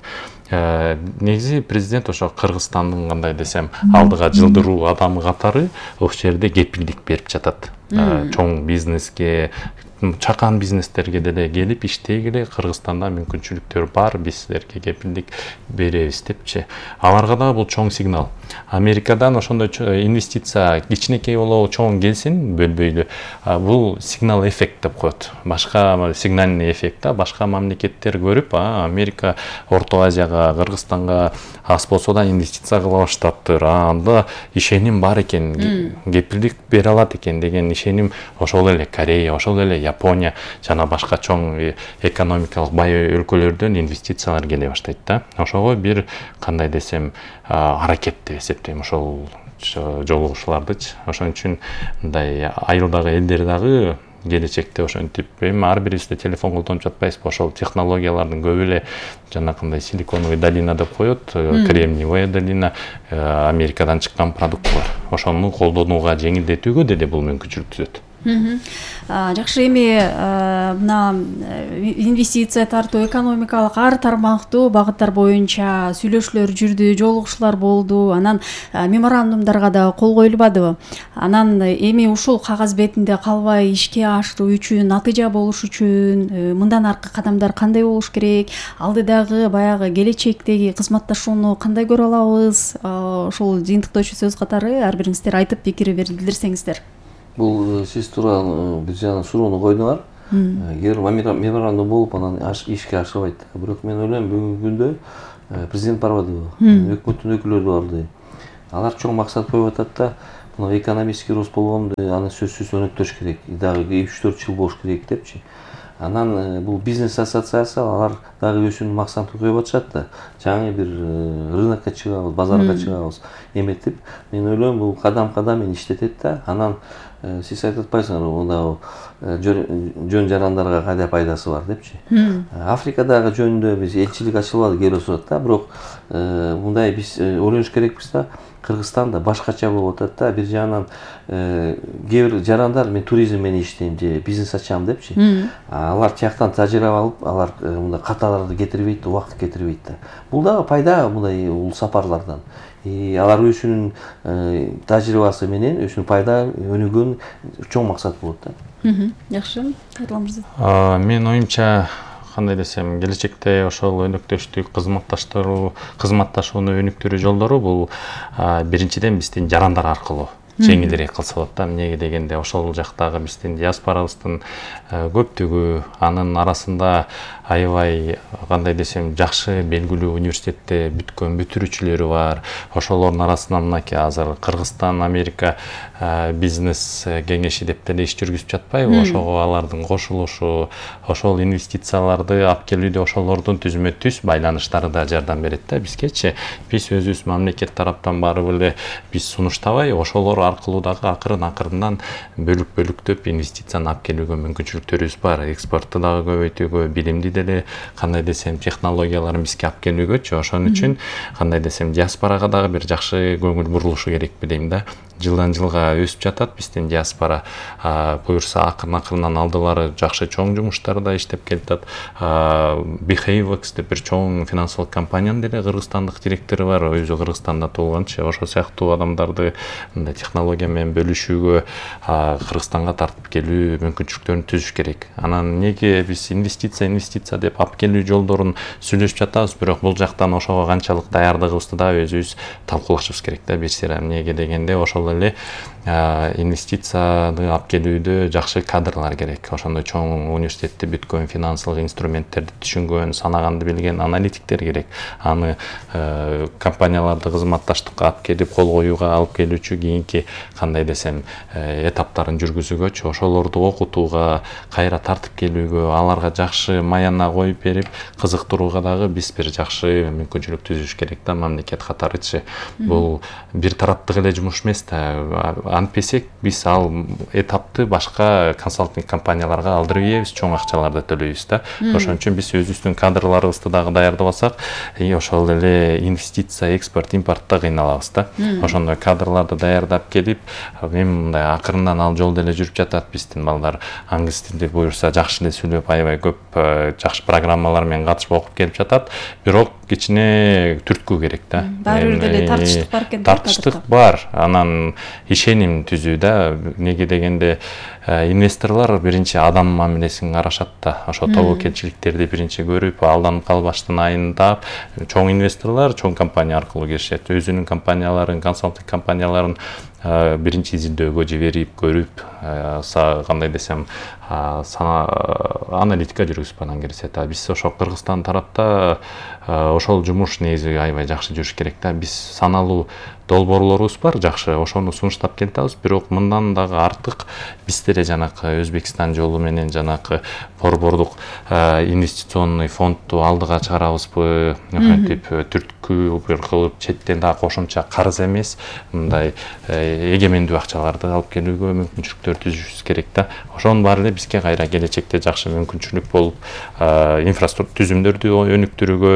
Негизи президент ошо Кыргызстандын кандай десем алдыга жылдыруу адамы катары ошол жерде кепилдик берип жатат. Чоң бизнеске, чакан бизнестерге деле келип иштегиле, Кыргызстанда мүмкүнчүлүктөр бар, биз силерге кепилдик беребиз депчи. Аларга да бул чоң сигнал. Америкадан ошондой инвестиция кичинекей болобу чоң келсин, бөлбөйлү. Бул сигнал эффект деп коет. Башка сигнальный эффект да, башка мамлекеттер көрүп, Америка Орто Азияга, Кыргызстанга аз болсо да инвестиция кыла баштаптыр. Анда ишеним бар экен, кепилдик бере алат экен деген ишеним ошол эле Корея, ошол эле Япония жана башка чоң экономикалык бай өлкөлөрдөн инвестициялар келе баштайт да. Ошого бир кандай десем аракет деп эсептейм ошол жолугушуулардычы. Ошон үчүн мындай айылдагы элдер дагы келечекте ошентип эми ар бирибизде телефон колдонуп жатпайбызбы, ошол технологиялардын көбү эле жанакындай силиконовый долина деп коет, кремниевая долина, Америкадан чыккан продукт бар. Ошону колдонууга, жеңилдетүүгө деле бул мүмкүнчүлүк түзөт. Жакшы, эми мына инвестиция тартуу, экономикалык ар тармактуу багыттар боюнча сүйлөшүүлөр жүрдү, жолугушуулар болду, анан меморандумдарга да кол коюлбадыбы? Анан эми ушул кагаз бетинде калбай ишке ашыруу үчүн, натыйжа болуш үчүн мындан аркы кадамдар кандай болуш керек? Алдыдагы баягы келечектеги кызматташууну кандай көрө алабыз? Ошол жыйынтыктоочу сөз катары ар бириңиздер айтып пикир билдирсеңиздер. Бул сиз тууралуу бир жана суроону койдуңар. Кээ бир меморандум болуп анан ишке ашырбайт. Бирок мен ойлойм бүгүнкү күндө президент барбадыбы, өкмөттүн өкүлдөрү барды. Алар чоң максат коюп атат да, мына экономический рост болгондо аны сөзсүз өнүктүрүш керек. Дагы 3-4 жыл болуш керек депчи. Анан бул бизнес ассоциация алар дагы өзүнүн максатын коюп атышат да. Жаңы бир рынокко чыгабыз, базарга чыгабыз эметип, мен ойлойм бул кадам-кадам иштетет да. Анан сиз айтып атпайсыңарбы, мында жөн жарандарга кандай пайдасы бар депчи. Африкадагы жөнүндө биз элчилик ачылбады, келип сурат да, бирок мындай биз ойлонуш керекпиз да. Кыргызстанда башкача болуп атат да. Бир жагынан кээ бир жарандар мен туризм менен иштейм же бизнес ачам депчи. Алар тияктан тажрыйба алып, алар мындай каталарды кетирбейт, убакыт кетирбейт да. Бул дагы пайда мындай ул сапарлардан. Алар өзүнүн тажрыйбасы менен өзүнүн пайда өнүгөн чоң максат болот да. Жакшы, Эрлан мырза. Мен оюмча кандай десем, келечекте ошол өнөктөштүк, кызматташууну өнүктүрүү жолдору бул биринчиден биздин жарандар аркылуу жеңилирээк кылса болот да. Эмнеге дегенде ошол жактагы биздин диаспорабыздын көптүгү, анын арасында аябай кандай десем жакшы белгилүү университетте бүткөн бүтүрүүчүлөрү бар. Ошолордун арасынан мынакей азыр Кыргызстан, Америка бизнес кеңеши деп деле иш жүргүзүп жатпайбы? Ошого алардын кошулушу, ошол инвестицияларды алып келүүдө ошолордун түзмө-түз байланыштары да жардам берет да бизгечи. Биз өзүбүз мамлекет тараптан барып эле биз сунуштабай, ошолор аркылуу дагы акырын-акырындан бөлүктөп инвестицияны алып келүүгө мүмкүнчүлүктөрүбүз бар. Экспортту дагы көбөйтүүгө, билимди деле кандай десем технологияларын бизге алып келүүгөчү. Ошон үчүн кандай десем диаспорага дагы бир жакшы көңүл бурулушу керек билейм да. Жылдан жылга өсүп жатат биздин диаспора. Буюрса акырын-акырындан алдылары жакшы чоң жумуштарда иштеп келатат. Behavex деп бир чоң финансылык компаниянын деле кыргызстандык директору бар, өзү Кыргызстанда туулганчы. Ошол сыяктуу адамдарды мындай технология менен бөлүшүүгө, Кыргызстанга тартып келүү мүмкүнчүлүктөрүн түзүш керек. Анан неге биз инвестиция деп алып келүү жолдорун сүйлөшүп жатабыз, бирок бул жактан ошого канчалык даярдыгыбызды да өзүбүз талкуулашыбыз керек да. Бир сыйра эмнеге дегенде ошол эле инвестицияны алып келүүдө жакшы кадрлар керек. Ошондой чоң университетти бүткөн, финансылык инструменттерди түшүнгөн, санаганды билген аналитиктер керек. Аны компанияларды кызматташтыкка алып келип, кол коюуга алып келүүчү кийинки кандай десем этаптарын жүргүзүүгөчү, ошолорду окутууга, кайра тартып келүүгө, аларга жакшы маяна коюп берип, кызыктырууга дагы биз бир жакшы мүмкүнчүлүк түзүш керек да, мамлекет катарычы. Бул бир тараптык эле жумуш эмес да. Антпесек биз ал этапты башка консалтинг компанияларга алдырып ийебиз, чоң акчаларды төлөйбүз да. Ошон үчүн биз өзүбүздүн кадрларыбызды дагы даярдабасак, ошол эле инвестиция, экспорт, импортто кыйналабыз да. Ошондой кадрларды даярдап келип, эми мындай акырындан ал жолдо эле жүрүп жатат биздин балдар. Англис тилинде буюрса жакшы эле сүйлөп, аябай көп жакшы программалар менен катышып окуп келип жатат. Бирок кичине түрткү керек да. Баары бир деле тартыштык бар экен. Тартыштык бар. Анан ишеним түзүү да. Неге дегенде инвесторлор биринчи адам мамилесин карашат да. Ошо тобокелчиликтерди биринчи көрүп, алданып калбаштын айындап, чоң инвесторлор чоң компания аркылуу киришет. Өзүнүн компанияларын, консалтинг компанияларын биринчи изилдөөгө жиберип, көрүп, кандай десем, аналитика жүргүзүп анан киришет. Биз ошо Кыргызстан тарапта ошол жумуш негизи аябай жакшы жүрүш керек да. Биз саналуу долбоорлорубуз бар, жакшы, ошону сунуштап келатабыз. Бирок мындан дагы артык биз деле жанакы Өзбекстан жолу менен жанакы борбордук инвестиционный фондду алдыга чыгарабызбы, антип түрткү бир кылып четтен дагы кошумча карыз эмес, мындай эгемендүү акчаларды алып келүүгө мүмкүнчүлүктөр түзүшүбүз керек да. Ошонун баары эле бизге кайра келечекте жакшы мүмкүнчүлүк болуп, инфраструктура түзүмдөрдү өнүктүрүүгө,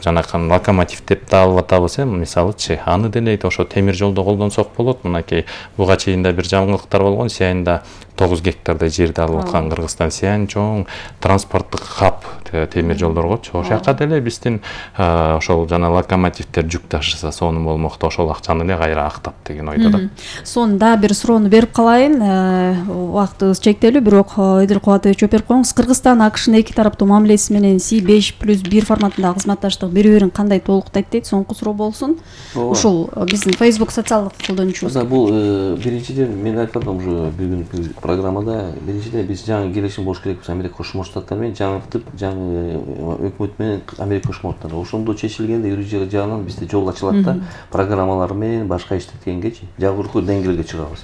жанакы локомотивдерди алып атабыз, мисалычы, аны деле ошо темир жолдо колдонсок болот. Мынакей буга чейин да бир жаңылыктар болгон, Сиянда 9 гектардай жерди алып аткан Кыргызстан Сиян чоң транспорттук хаб темир жолдоргочу. Ошол жака деле биздин ошол жана локомотивдер жүк ташыса сонун болмокто, ошол акчаны эле кайра актап деген ойдо да. Сонда бир суроону берип калайын. Убактыбыз чектелүү, бирок Эдил Кубатович жооп берип коюңуз. Кыргызстан АКШнын эки тараптуу мамилеси менен C5+1 форматындагы кызматташтык бири-бирин кандай толуктайт дейт? Соңку суроо болсун. Ушул биздин Facebook социалдык колдонуучубуз. Бул биринчиден мен айткандым уже бир күн программада, биринчиден биз жаңы келишим болуш керекпиз Америка Кошмо Штаттары менен, жаңыртып, жаңы өкмөт менен Америка Кошмо Штаттары. Ошондо чечилгенде юридик жагынан бизде жол ачылат да, программалар менен башка иштеткенгечи жогорку деңгээлге чыгабыз.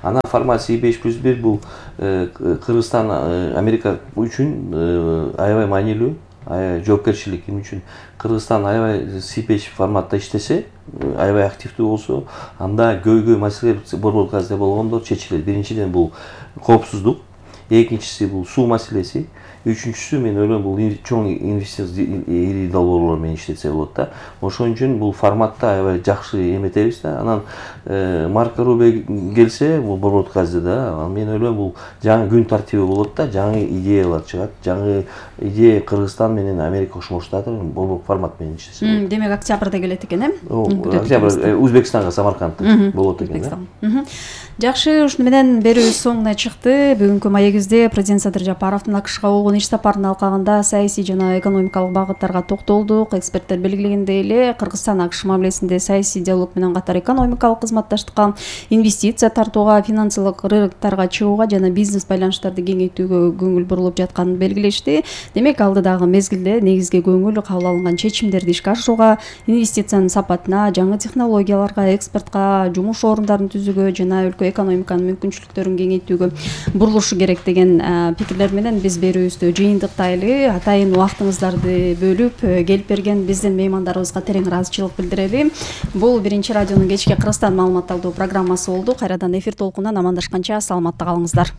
Ана формат C5+1 бул Кыргызстан Америка үчүн аябай маанилүү, жоопкерчилик үчүн. Кыргызстан аябай C5 форматта иштесе, аябай активдүү болсо, анда көйгөй маселе борбор газда болгондо чечилет. Биринчиден бул коопсуздук, экинчиси бул суу маселеси, үчүнчүсү мен ойлойм бул чоң инвестиция ири долбоорлор менен иштетсе болот да. Ошон үчүн бул форматта аябай жакшы эметебиз да. Анан Марко Рубио келсе, бул борбор газда да, мен ойлойм бул жаңы күн тартиби болот да, жаңы идеялар чыгат, жаңы идея Кыргызстан менен Америка Кошмо Штаттары борбор формат менен иштесе болот. Демек октябрда келет экен, Октябрь Өзбекстанга, Самаркандта болот экен да. Жакшы, ушуну менен берүүбүз соңуна чыкты. Бүгүнкү маегибизде президент Садыр Жапаровдун АКШга болгон иш сапарынын алкагында саясий жана экономикалык багыттарга токтолдук. Эксперттер белгилегендей эле, Кыргызстан АКШ мамилесинде саясий диалог менен катар экономикалык кызматташтыкка, инвестиция тартууга, финансылык рыноктарга чыгууга жана бизнес байланыштарды кеңейтүүгө көңүл бурулуп жатканын белгилешти. Демек, алдыдагы мезгилде негизги көңүл кабыл алынган чечимдерди ишке ашырууга, инвестициянын сапатына, жаңы технологияларга, экспортко, жумуш орундарын түзүүгө жана өлкө экономиканын мүмкүнчүлүктөрүн кеңейтүүгө бурулушу керек деген пикирлер менен биз берүүбүздү жыйынтыктайлы. Атайын убактыңыздарды бөлүп келип берген биздин меймандарыбызга терең ыраазычылык билдирели. Бул биринчи радионун кечки Кыргызстан маалымат алуу программасы болду. Кайрадан эфир толкунунан амандашканча саламатта калыңыздар.